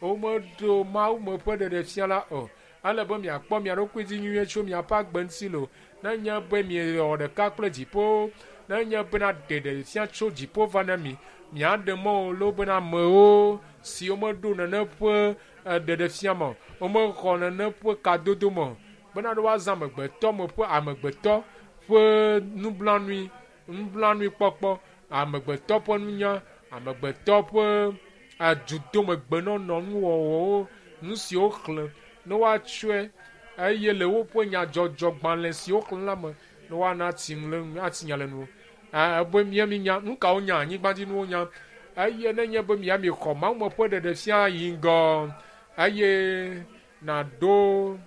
[SPEAKER 1] Womeɖo Mawu me ƒe ɖeɖefia la o. Ele be miakpɔ mia ɖokui dzi nyuie tso miaƒe agbe ŋuti lo. Nenye be miewɔ ɖeka kple dziƒo, nenye bena ɖeɖefia tso dziƒo va na mi, miaɖe mɔ o lo bena amewo siwo meɖo nene ƒe ɖeɖefia me o, womexɔ nene ƒe kadodo me o, bena ɖe woazã amegbetɔ me ƒe amegbetɔ ƒe nublanui, nublanuikpɔkpɔ, amegbetɔ ƒe nunya, amegbetɔ ƒe adudomegbenɔnɔ nuwɔwɔwo, nu siwo xlẽ ne woatsɔe eye le woƒe nyadzɔdzɔgbalẽ siwo xlẽ la me ne woana ati nu le ati nya le nu. Ebe mía minya nu kawo nya anyigbadzinuwo nya eye nenye be mía mixɔ Mawu me ƒe ɖeɖefia yi ŋgɔ eye nàɖo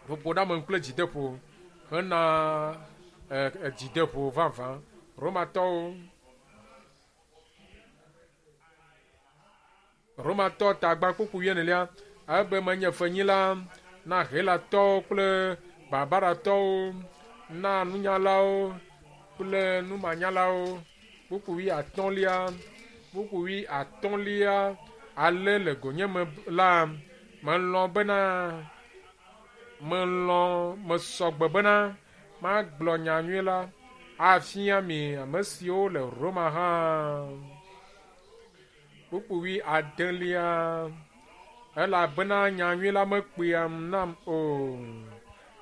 [SPEAKER 1] ƒoƒoɖeame kple dzideƒo hena dzideƒo vavã. Romatɔwo Romatɔ tagba kpukpu wuienelia ebe menye fenyila na Helatɔwo kple Barbaratɔwo, na nunyalawo kple numanyalawo. Kpukpu wuiatɔ̃lia, kpukpu wuiatɔ̃lia ale le gonyeme la, melɔ̃ bena melɔ̃ mesɔgbe bena magblɔ nyanyui la afia mi ame siwo le Roma hã. Kpukpu wuiadelia elabena nyanyui la mekpeam nam o.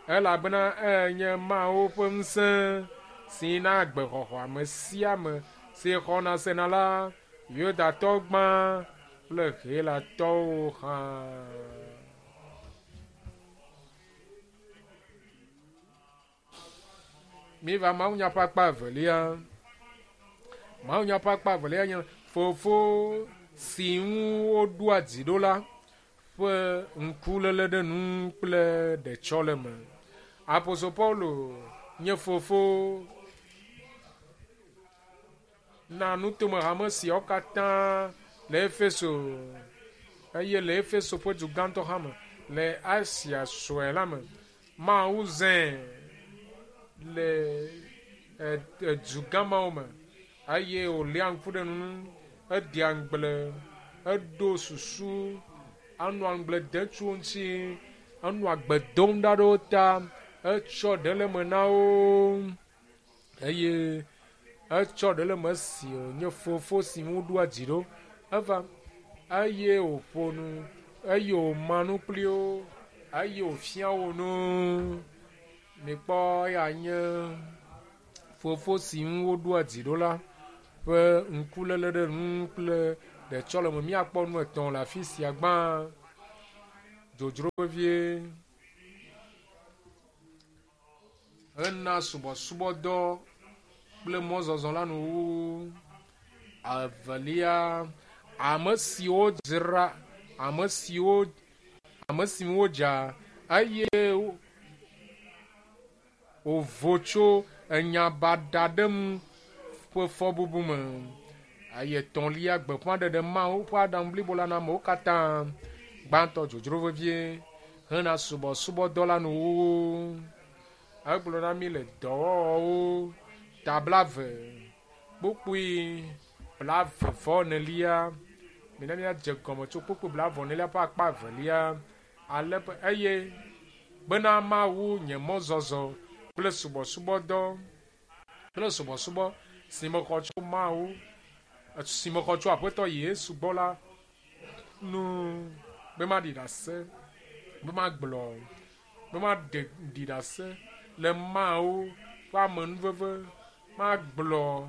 [SPEAKER 1] Elabena enye Mawu ƒe ŋusẽ si na agbexɔxɔ ame sia ame si xɔna sena la, Yudatɔ gbã kple Helatɔwo hã. Míva mawunya ƒe akpa evelia. Mawunya ƒe akpa evelia nye fofo si ŋu woɖoa dzi ɖo la ƒe ŋkuléle ɖe nu kple ɖetsɔleme. Apostol Paulo nye fofo na nutomehame siawo katã le Efeso eye le Efeso ƒe du gãtɔ hã me le Asia sue la me. Mawu zãe le du gã mawo me eye wòléa ŋku ɖe nu ŋu, edea ŋugble, eɖo susu, enɔa ŋugble dem tso wo ŋuti, enɔa gbe dom ɖa ɖe wo ta, etsɔ ɖe le eme na wo eye etsɔ ɖe le eme esi wònye fofo si ŋu woɖoa dzi ɖo. Eva eye wòƒo nu eye wòma nu kpli wo eye wòfia wo nu. Mikpɔ eya nye Fofo si ŋu woɖoa dzi ɖo la ƒe ŋkuléle ɖe nu ŋu kple ɖetsɔleme. Míakpɔ nu etɔ̃ le afi sia. Gbã, dzodzro vevie hena subɔsubɔdɔ kple mɔzɔzɔ la nuwuwu. Evelia, ame siwo dzra, ame siwo, ame si ŋu wodza eye wòvo tso enya baɖa ɖe ŋu ƒe fɔbubu me. Eye etɔ̃lia, gbeƒãɖeɖe Mawu ƒe aɖaŋu blibo la na amewo katã. Gbãtɔ, dzodzro vevie hena subɔsubɔdɔ la nuwuwu. Egblɔ na mí le dɔwɔwɔwo ta blave kpukpui blave vɔ enelia. Mina míadze gɔme tso kpukpui blave enelia ƒe akpa evelia ale be eye bena mawu nye mɔzɔzɔ kple subɔsubɔdɔ kple subɔsubɔ si mexɔ tso Mawu si mexɔ tso Aƒetɔ Yesu gbɔ la nu be maɖi ɖase, be magblɔ, be maɖe ɖi ɖase le Mawu ƒe amenuveve, magblɔ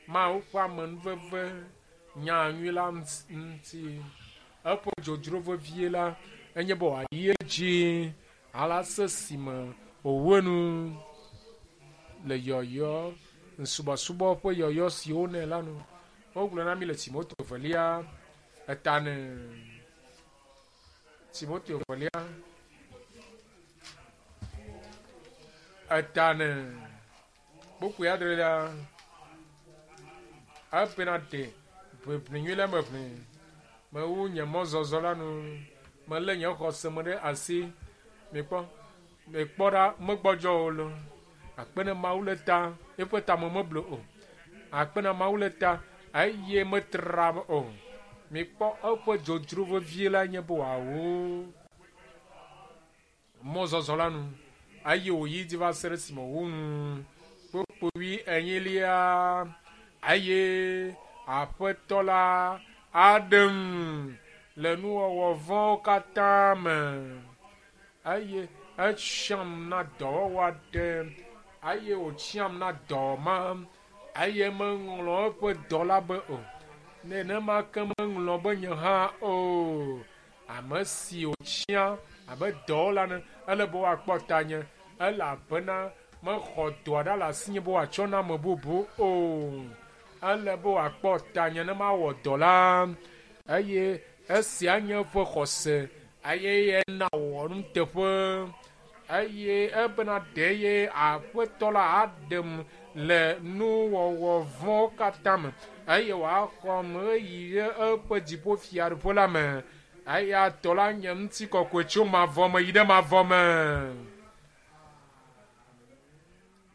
[SPEAKER 1] Mawu ƒe amenuveve nya nyui la ŋuti. Eƒe dzodzro vevie la enye be wòayi edzi ale se si me wòwu enu le yɔyɔ, subɔsubɔ ƒe yɔyɔ si wonɛ la nu. Wogblɔ na mí le Timoteo evelia eta ne. Timoteo evelia eta ne kpukpui adrelia ebena ɖe ʋeʋli nyui le me ʋli. Mewu nye mɔzɔzɔ la nu. Melé nye xɔse me ɖe asi. Mikpɔ, mikpɔ ɖa, megbɔdzɔ o lo. Akpe ne Mawu le ta, eƒe tame meblu o. Akpe na Mawu le ta, eye metra o. Mikpɔ eƒe dzodzro vevie la nye be wòawu mɔzɔzɔ la nu eye wòyi dzi va se ɖe esime wòwu nu. Kpukpui wui enyilia eye Aƒetɔ la aɖem le nuwɔwɔ vɔ̃wo katã me eye etsiam na dɔwɔwɔ aɖe eye wòtsiam na dɔ ma eye meŋlɔ eƒe dɔ la be o. Nenema ke meŋlɔ be nye hã o. Ame si wòtsia abe dɔwɔla ene, ele be woakpɔ tanye elabena mexɔ dɔa ɖa le asinye be wòatsɔ na ame bubu o. Ele be wòakpɔ tanye ne mawɔ dɔ la eye esia nye eƒe xɔse eye ena wòwɔ nuteƒe eye ebena ɖe ye Aƒetɔ la aɖem le nuwɔwɔ vɔ̃wo katã me eye wòaxɔm ɣeyiɣi ɖe eƒe dziƒofiaɖuƒe la me. Eya tɔ la nye ŋutikɔkɔe tso mavɔ me yi ɖe mavɔ me.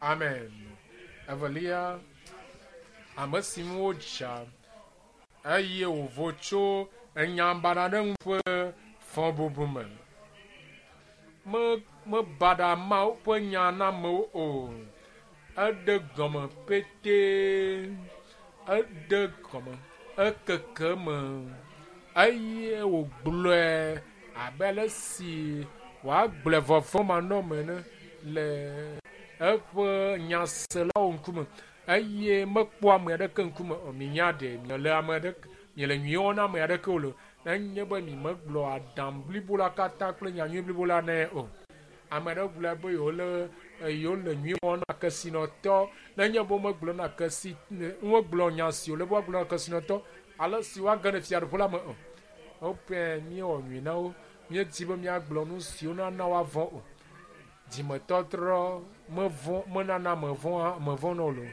[SPEAKER 1] Amen. Evelia, ame si ŋu wodza eye wòvo tso enya baɖa ɖe ŋu ƒe fɔbubu me. Me mebaɖa Mawu ƒe nya na amewo o. Eɖe gɔme petee. Eɖe gɔme ekeke me eye wògblɔe abe ale si wòagblɔe vɔvɔ̃manɔme ene le eƒe nyaselawo ŋkume eye mekpɔ ame aɖeke ŋkume o. Minya ɖe miele ame aɖeke miele nyui wɔm na ame aɖeke o lo. Nenye be mi megblɔ aɖaŋu blibo la katã kple nyanyui blibo la nɛ o. Ame aɖewo gblɔ be yewole yewole nyui wɔm na kesinɔtɔ. Nenye be womegblɔ na kesi womegblɔ nya si wòle be woagblɔ na kesinɔtɔ ale si woage ɖe fiaɖuƒe la me o. Woƒe míewɔ nyui na wo. Míedi be míagblɔ nu siwo nana woavɔ̃ o. Dzimetɔtrɔ mevɔ̃ menana mevɔ̃ mevɔ̃na o lo.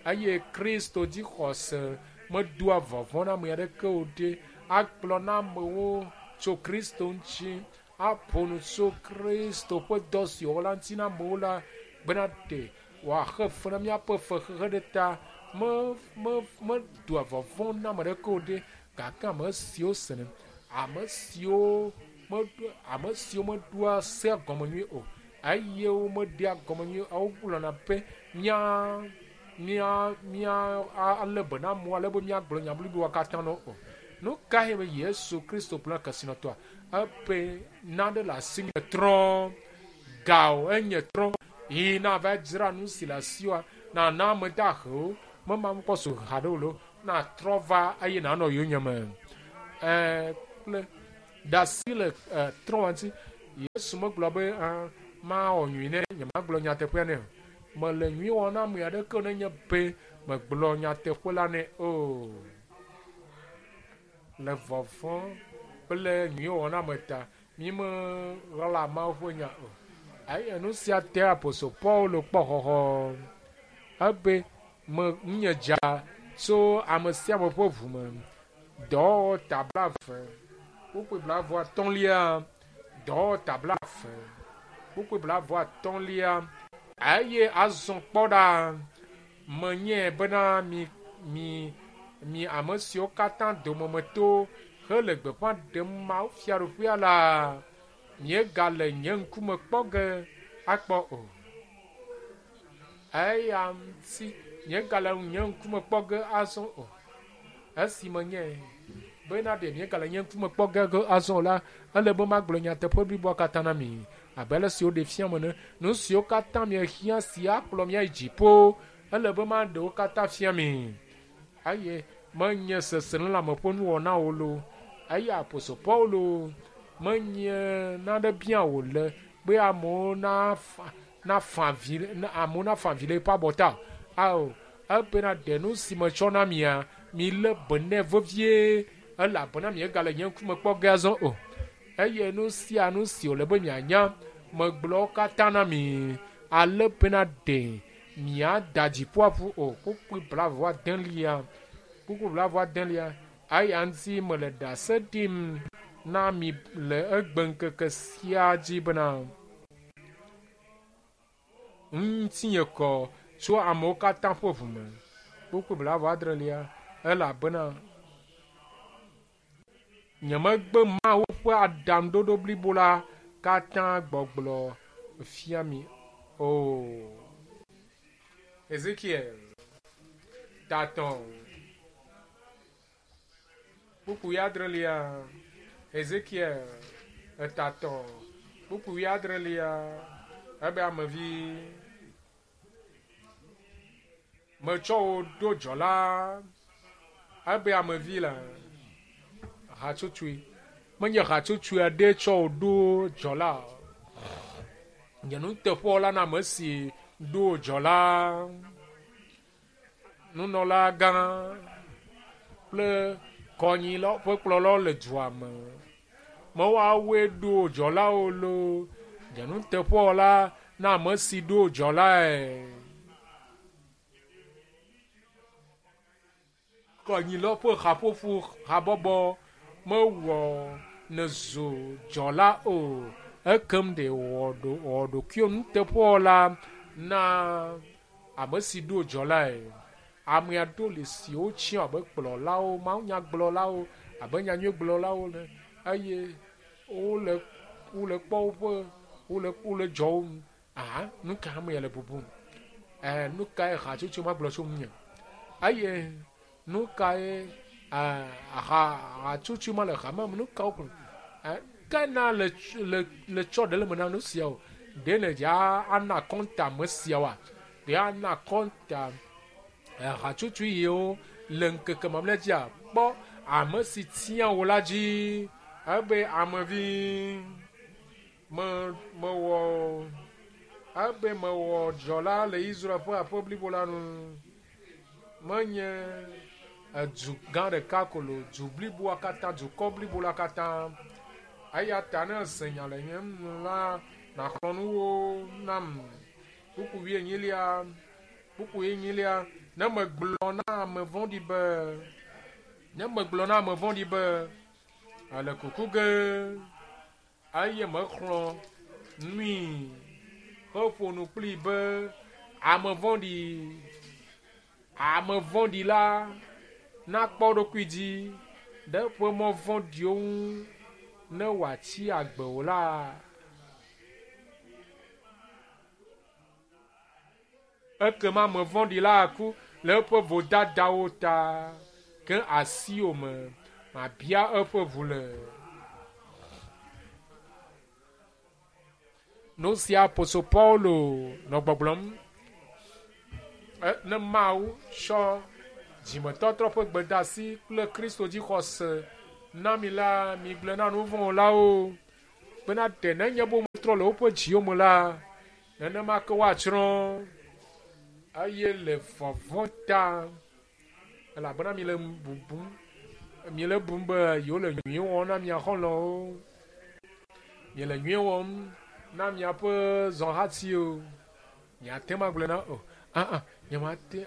[SPEAKER 1] Eye Kristo dzixɔse medoa vɔvɔ̃ na ame aɖeke o ɖe. Agblɔ na amewo tso Kristo ŋuti aƒo nu tso Kristo ƒe dɔ si wòwɔ la ŋuti na amewo la bena ɖe wòaxe fe na míaƒe fexexe ɖe ta. Me me medoa vɔvɔ̃ na ame aɖeke o ɖe gake ame siwo senɛ, ame siwo meɖo ame siwo meɖoa sea gɔme nyuie o eye womeɖea gɔme nyuie o wogblɔna be mía mía mía alé be na amewo ale be míagblɔ nya bliboa katã na wo o. Nu kae be Yesu Kristo gblɔ na kesinɔtɔa? Ebe nane le asinye trɔ, ga o enye trɔ yi nava dzra nu si le asiwòa Nàna ame dahewo, mema mekpɔ su haɖe o lo, natrɔ va eye nànɔ yonyeme. Ɛɛ, kple ɖe asi le trɔ̃ ŋuti. Yesu megblɔ be, mawɔ nyui nɛ, nyemagblɔ nyateƒea nɛ o. Mele nyui wɔm na ame aɖeke o nenye be megblɔ nyateƒe la nɛ o. Le vɔvɔ̃ kple nyuiwɔwɔ na ame ta, mímeɣla Mawu ƒe nya o. Eye nu sia te Apostol Paulo kpɔ xɔxɔ. Ebe, me nye dza tso ame sia ame ƒe ʋu me. Dɔwɔwɔ ta 20, kpukpui 25. Dɔwɔwɔ ta 20, kpukpui 25. Eye azɔ kpɔ ɖa, menye bena mi mi mi ame siwo katã dome meto hele gbeƒã ɖem Mawu fiaɖuƒea la, miegale nye ŋkume kpɔ ge akpɔ o. Eya ŋuti miegale nye ŋkume kpɔ ge azɔ o. Esi menye bena ɖe miegale nye ŋkume kpɔ ge azɔ o la, ele be magblɔ nyateƒe bliboa katã na mi abe ale si woɖe fia me ene. Nu siwo katã miehiã si akplɔ mia yi dziƒo, ele be maɖe wo katã fia mi. Eye menye seselelãme ƒe nuwɔnawo loo. Eye Apostol Paulo menye nane bia wòle be amewo nafa avi amewo nafa avi le eƒe abɔta o. Ao, ebena ɖe nu si metsɔ na mia, milé be nɛ vevie elabena miegale nye ŋkume kpɔ ge azɔ o. Eye nu sia nu si wòle be mianya, megblɔ wo katã na mi ale bena ɖe miada dziƒoa ƒu o. Kpukpui 29. Kpukpui 29. Eya ŋuti mele ɖase ɖim na mi le egbe ŋkeke sia dzi bena ŋutinye kɔ tso amewo katã ƒe ʋu me. Kpukpui 30. Elabena nyemegbe Mawu ƒe aɖaŋuɖoɖo blibo la katã gbɔgblɔ fia mi o. Ezekiel 3. Kpukpui 6. Ezekiel 3. Kpukpui 6. Ebe amevi, metsɔ wò ɖo dzɔla. Ebe amevi la hatsotsoe. Menye hatsotsoe aɖe tsɔ wò ɖo dzɔla o. Nye nuteƒewɔla na ame si ɖo dzɔla. Nunɔla gã kple kɔnyilawo ƒe kplɔlawo le dua me. Mewoawoe ɖo dzɔlawo loo. Nye nuteƒewɔla na ame si ɖo dzɔlae. Kɔnyilawo ƒe haƒoƒo habɔbɔ mewɔ nezu dzɔla o. Ekem ɖe wɔ ɖokuiwo nuteƒewɔla na ame si ɖo dzɔlae. Ame aɖewo le si wotsiã abe kplɔlawo, mawunyagblɔlawo, abe nyanyuigblɔlawo ene eye wole kpɔ woƒe wole dzɔ wo ŋu. Aha, nu ka ame ya le bubum? Nu kae hatsotso ma gblɔ tso ŋunye? Eye nu kae hatsotso ma le hame me? Nu ka wogblɔ? Ke na le tsɔ ɖe le me na nu siawo. Ɖe ne dza ana kɔnta ame siawoa? Ɖe ana kɔnta hatsotso yiwo le ŋkeke mamlɛ dzia? Kpɔ ame si tia wò la dzi. Ebe amevi mewɔ ebe mewɔ dzɔla le Israel ƒe aƒe blibo la nu. Menye edu gã ɖeka ko lo, du bliboa katã, dukɔ blibo la katã. Eya ta ne ese nya le nye nu la, nàxlɔ̃ nu wo nam. Kpukpui 4. Kpukpui 4. Ne megblɔ na ame vɔ̃ɖi be, ne megblɔ na ame vɔ̃ɖi be, ele kuku ge, eye mexlɔ̃ nui heƒo nu kplii be ame vɔ̃ɖi la nakpɔ eɖokui dzi ɖe eƒe mɔ vɔ̃ɖiwo ŋu ne wòatsi agbe o la. Ekema ame vɔ̃ɖi la aku le eƒe vodadawo ta, ke asiwò me mabia eƒe ʋu le. Nu sia Apostol Paulo nɔ gbɔgblɔm. Ne Mawu tsɔ dzimetɔtrɔ ƒe gbedeasi kple Kristo dzixɔse na mi la, migblɔe na nu vɔ̃ wɔlawo bena ɖe nenye be wometrɔ le woƒe dziwo me la, nenema ke woatsrɔ̃ eye le vɔvɔ̃ ta elabena mi le bubum mi le bum be yewo le nyui wɔm na mia xɔlɔ̃wo mi le nyui wɔm na miaƒe zɔhatiwo miate ŋu agblɔe na o aa nyemate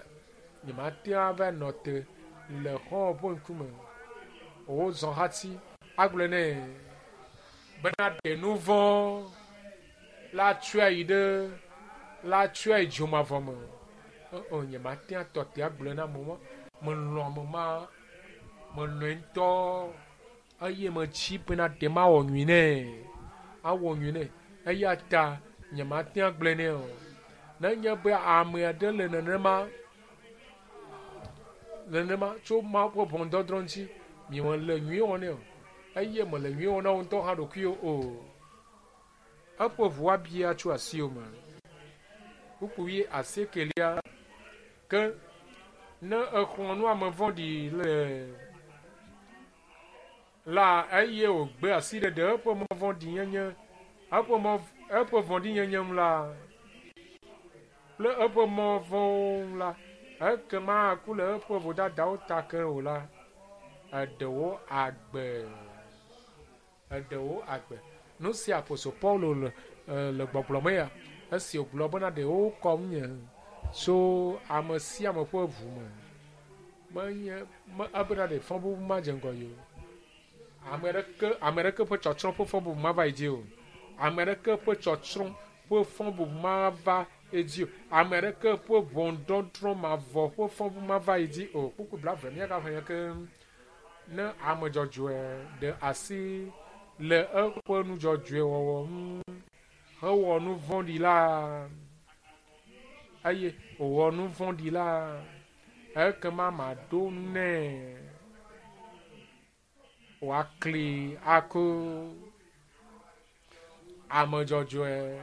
[SPEAKER 1] nyemate ŋu ava nɔ te le xɔ̃wò ƒe ŋkume wò zɔhati agblɔe nɛ bena ɖe nu vɔ̃ la tsɔe yi ɖe la tsɔe yi dzomavɔ me. O nyemate ŋu atɔ te agblɔe na amewo melɔ̃ ame ma melɔ̃e ŋutɔ eye metsi bena ɖe mawɔ nyui nɛ awɔ nyui nɛ eya ta nyemate ŋu agblɔe nɛ o. Nenye be ame aɖe le nenema nenema tso Mawu ƒe ʋɔnudɔdrɔ̃ ŋuti miele nyui wɔm nɛ o eye mele nyui wɔm na wò ŋutɔ hã ɖokuiwò o. Eƒe ʋu abia tso asiwò me. Kpukpui asiekelia ke ne exlɔ̃ nu ame vɔ̃ɖi le la eye wògbe asiɖeɖe eƒe mɔ vɔ̃ɖinyenye eƒe mɔ eƒe vɔ̃ɖinyenye ŋu la kple eƒe mɔ vɔ̃wo ŋu la ekema aku le eƒe vodadawo ta ke o la eɖewo agbe eɖewo agbe. Nu si apostol Paulo le le gbɔgblɔ me ya esi wògblɔ bena ɖewo kɔm nye tso ame sia ame ƒe ʋu me menye me ebena ɖe fɔbubu madze ŋgɔ yi o. Ame ɖeke ame ɖeke ƒe tsɔtsrɔ̃ ƒe fɔbubu mava yi dzi o. Ame ɖeke ƒe tsɔtsrɔ̃ ƒe fɔbubu mava edzi o. Ame ɖeke ƒe ʋɔnudɔdrɔ̃ mavɔ ƒe fɔbubu mava yi dzi o. Kpukpui blaeve míagaxlẽ ke ne ame dzɔdzɔe ɖe asi le eƒe nu dzɔdzɔe wɔwɔ ŋu hewɔ nu vɔ̃ɖi la eye wòwɔ nu vɔ̃ɖi la ekema maɖo nu nɛ wòakli aku ame dzɔdzɔe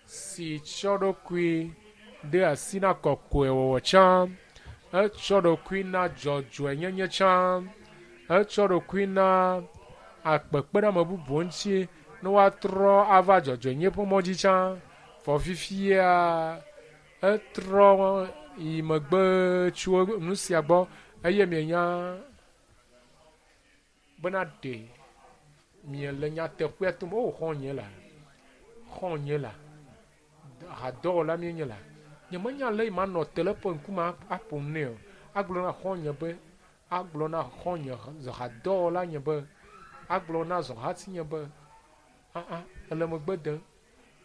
[SPEAKER 1] si tsɔ ɖokui de asi na kɔkɔewɔwɔ tsã etsɔ ɖokui na dzɔdzɔenyenye tsã etsɔ ɖokui na akpekpeɖeame bubuwo ŋuti ne woatrɔ ava dzɔdzɔenyenye ƒe mɔ dzi tsã vɔ fifia etrɔ yi megbe tso nu sia gbɔ eye mienya bena ɖe miele nyateƒea tom o xɔ̃nye la xɔ̃nye la hadɔwɔla mienye la nyemenya ale yi manɔ te le eƒe ŋkume aƒo nu nɛ o. Agblɔ na xɔ̃nye be agblɔ na xɔ̃nye hadɔwɔla nye be agblɔ na zɔhatinye be aa ele megbe dem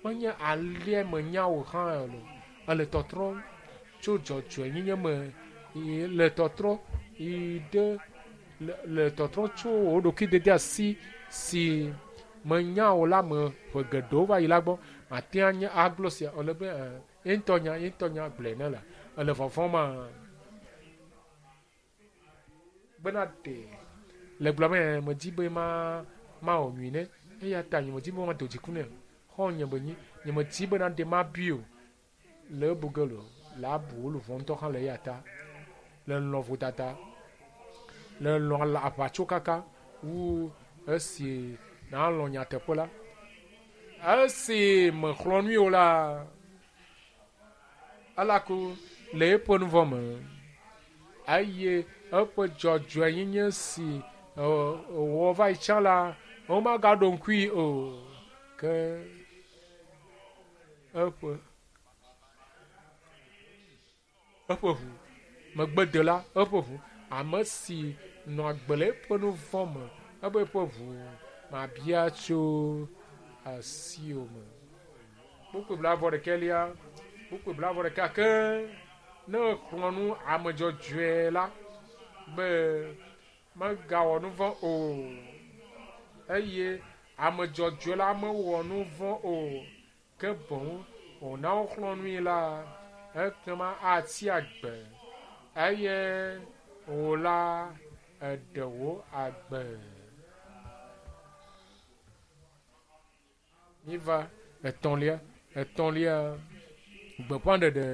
[SPEAKER 1] menye alea menya wò hã o ele tɔtrɔm tso dzɔdzɔenyenye me le tɔtrɔ yi ɖe le tɔtrɔ tso wò ɖokui dede asi si menya wò la me ƒe geɖewo va yi la gbɔ mate anye agblɔ sia ele be ye ŋutɔ nya ye ŋutɔ nya gblɔe ne la ele vɔvɔ̃m ma bena ɖe le gblɔ me medzi be ma mawɔ nyui ne eya ta nye medzi be mado dziku nɛ xɔ̃nye be nyi nye medzi bena ɖe mabui o le ebu ge lo le abu wo luʋɔ ŋutɔ hã le eya ta le lɔ̃ vodada le lɔ̃ aʋatsokaka wu esi nalɔ̃ nyateƒe la esi mexlɔ̃ nui o la elaku le eƒe nu vɔ̃ me eye eƒe dzɔdzɔenyenye si wòwɔ va yi tsã la womagaɖo ŋkui o ke eƒe eƒe ʋu megbedela eƒe ʋu ame si nɔ agbe le eƒe nu vɔ̃ me ebe eƒe ʋu mabia tso asiwò me. Kpukpui blaeve ɖekɛlia kpukpui blaeve ɖeka ke ne exlɔ̃ nu ame dzɔdzɔe la be megawɔ nu vɔ̃ o eye ame dzɔdzɔe la mewɔ nu vɔ̃ o ke boŋ wòna woxlɔ̃ nui la ekema atsi agbe eye wò la eɖe wò agbe. Míva etɔ̃lia etɔ̃lia gbeƒãɖeɖe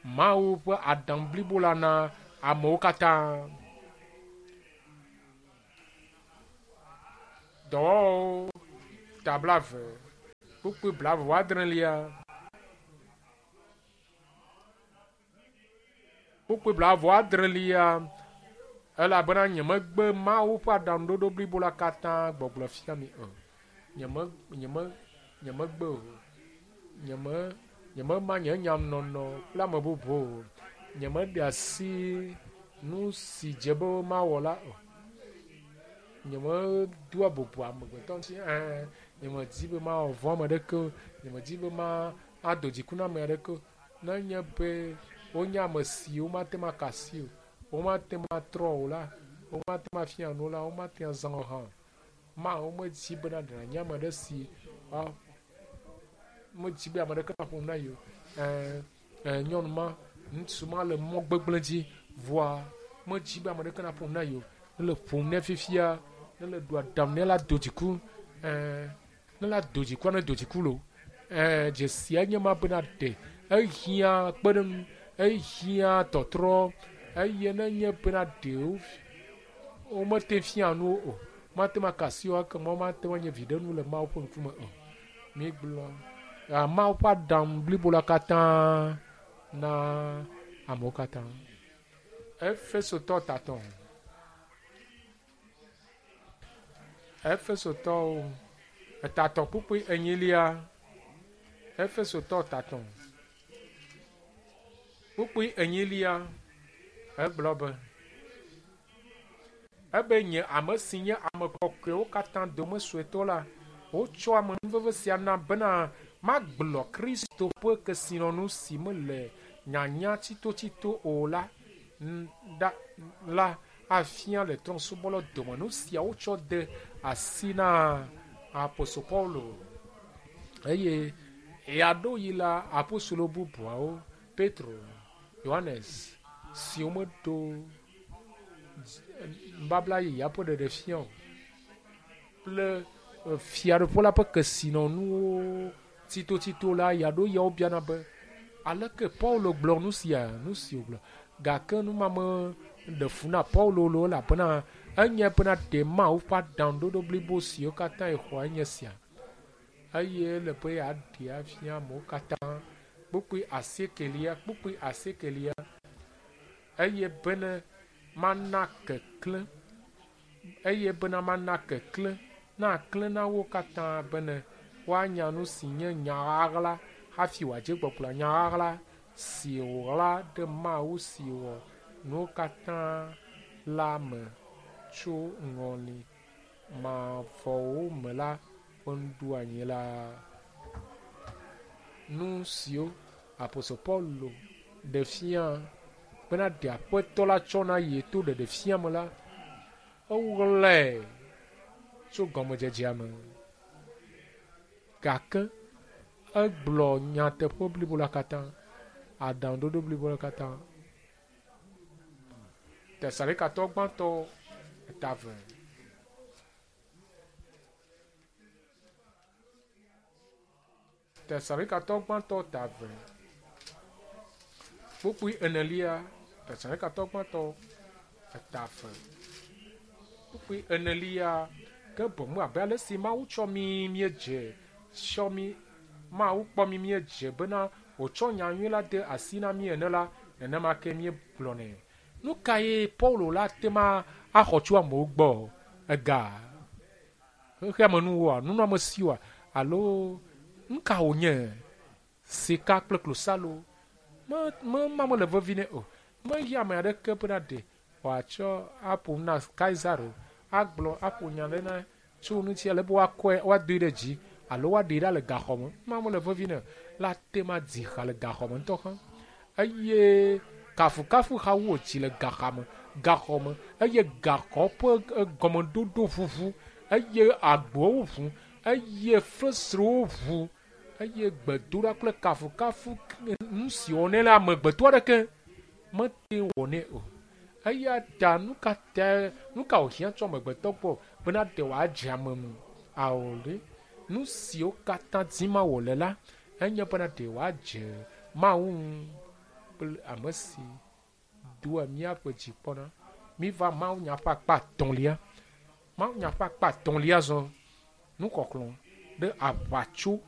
[SPEAKER 1] Mawu ƒe aɖaŋu blibo la na amewo katã. Dɔwɔwɔwo ta 20 kpukpui 29. Kpukpui 29 elabena nyemegbe Mawu ƒe aɖaŋuɖoɖo blibo la katã gbɔgblɔ fia mi o. Nyeme, nyeme, nyemegbe o. Nyeme, nyemema nye nyanɔnɔ kple ame bubu o. Nyemeɖe asi nu si dze be mawɔ la o. Nyemedoa bubu amegbetɔ ŋuti. Ɛ̃, nyemedi be mawɔ vɔ̃ ame aɖeke o. Nyemedi be ma ado dziku na ame aɖeke o. Nenye be wonye ame siwo mate ŋu aka asi o, womate ŋu atrɔ o la, womate ŋu afia nu o la, womate ŋu azã o hã. Mawu medi bena ɖe nànye ame aɖe si medi be ame aɖeke naƒo nu na ye o. Ɛ̃, nyɔnu ma, ŋutsu ma le mɔ gbegblẽ dzi vɔa medi be ame aɖeke naƒo nu na ye o. Ne le ƒom nɛ fifia, ne le ɖo aɖaŋu nɛ la do dziku. Ɛ̃, ne la do dzikua, ne do dziku lo. Ɛ̃, dzesia nye ma bena ɖe ehiã kpeɖeŋu, ehiã tɔtrɔ eye ne nye bena ɖe womete fia nu o, mate ŋu aka asi o, ekema womate ŋu anye viɖenu le Mawu ƒe ŋkume o. Mígblɔ Mawu ƒe aɖaŋu blibo la katã na amewo katã. Efesotɔ tatɔ. Efesotɔwo etatɔ kpukpui enyilia. Efesotɔ tatɔ kpukpui enyilia egblɔ be ebe nye ame si nye ame kɔkɔewo katã dome suetɔ la, wotsɔ amenuveve sia nam bena magblɔ Kristo ƒe kesinɔnu si mele nyanya tsitotsito o la la afia le trɔ̃subɔlawo dome. Nu sia wotsɔ de asi na apostol Paulo eye ɣeaɖewoɣi la apostolo bubuawo, Petro, Yohanes, siwo meɖo nubabla yeyea ƒe ɖeɖefia o kple fiaɖuƒe la ƒe kesinɔnuwo tsitotsito la, ɣeaɖewoɣia wobiana be aleke Paulo gblɔ nu sia, nu si wògblɔ. Gake nu ma meɖe fu na Paulo lo elabena enye bena ɖe Mawu ƒe aɖaŋuɖoɖo blibo siwo katã yexɔa enye sia. Eye ele be yeaɖe afia amewo katã. Kpukpui asiekelia, kpukpui asiekelia. Eye bene mana keklẽ, eye bena mana keklẽ naklẽ na wo katã bene woanya nu si nye nya ɣaɣla hafi wòadze gbɔgblɔ nya ɣaɣla si wòɣla ɖe Mawu si wɔ nuwo katã la me tso ŋɔli mavɔwo me la ƒe nuɖoanyi la. Nu siwo apostol Paulo ɖe fia bena ɖe aƒetɔ la tsɔ na ye to ɖeɖefia me la, eɣlae tso gɔmedzedzea me. Gake egblɔ nyateƒe blibo la katã, aɖaŋuɖoɖo blibo la katã. Tesalonikattɔ gbãtɔ 2. Tesalonikattɔ gbãtɔ 2. Kpukpui enelia. Tesalonikattɔ gbãtɔ 2. Kpukpui enelia. Ke boŋ abe ale si Mawu tsɔ mí míedze, tsɔ mí, Mawu kpɔ mí míedze bena wòtsɔ nya nyui la de asi na mí ene la, nenema ke míegblɔnɛ. Nu kae Paulo la te ma axɔ tso amewo gbɔ? Ega, xexeamenuwoa, nunɔamesiwoa, alo nu ka wònye? Sika kple klosalo. Me, me, ma mele vevi nɛ o. Mehiã ame aɖeke bena ɖe wòatsɔ aƒo nu na Kaisaro, agblɔ aƒo nya ɖe na tso ŋuti ale be woakɔe, woadoe ɖe dzi alo woaɖee ɖa le gaxɔ me. Ma mele vevi nɛ o. La te ma dzi ha le gaxɔ me ŋutɔ hã. Eye kafukafu ha wu wòdzi le gaxa me, gaxɔ me eye gaxɔ ƒe gɔmeɖoɖo ʋuʋu eye agbowo ʋu eye fesrewo ʋu eye gbedoɖa kple kafukafu nu si wɔnɛ la amegbetɔ aɖeke mete wɔnɛ o. Eya ta nu ka ta nu ka wòhiã tso amegbetɔ gbɔ bena ɖe wòadze ame ŋu? Ao ɖe nu siwo katã dim wòle la enye bena ɖe wòadze Mawu ŋu. kple ame si doa míaƒe dzi kpɔna. Míva mawunya ƒe akpa etɔ̃lia. Mawunya ƒe akpa etɔ̃lia zɔ nuxɔxlɔ̃ ɖe aʋatso.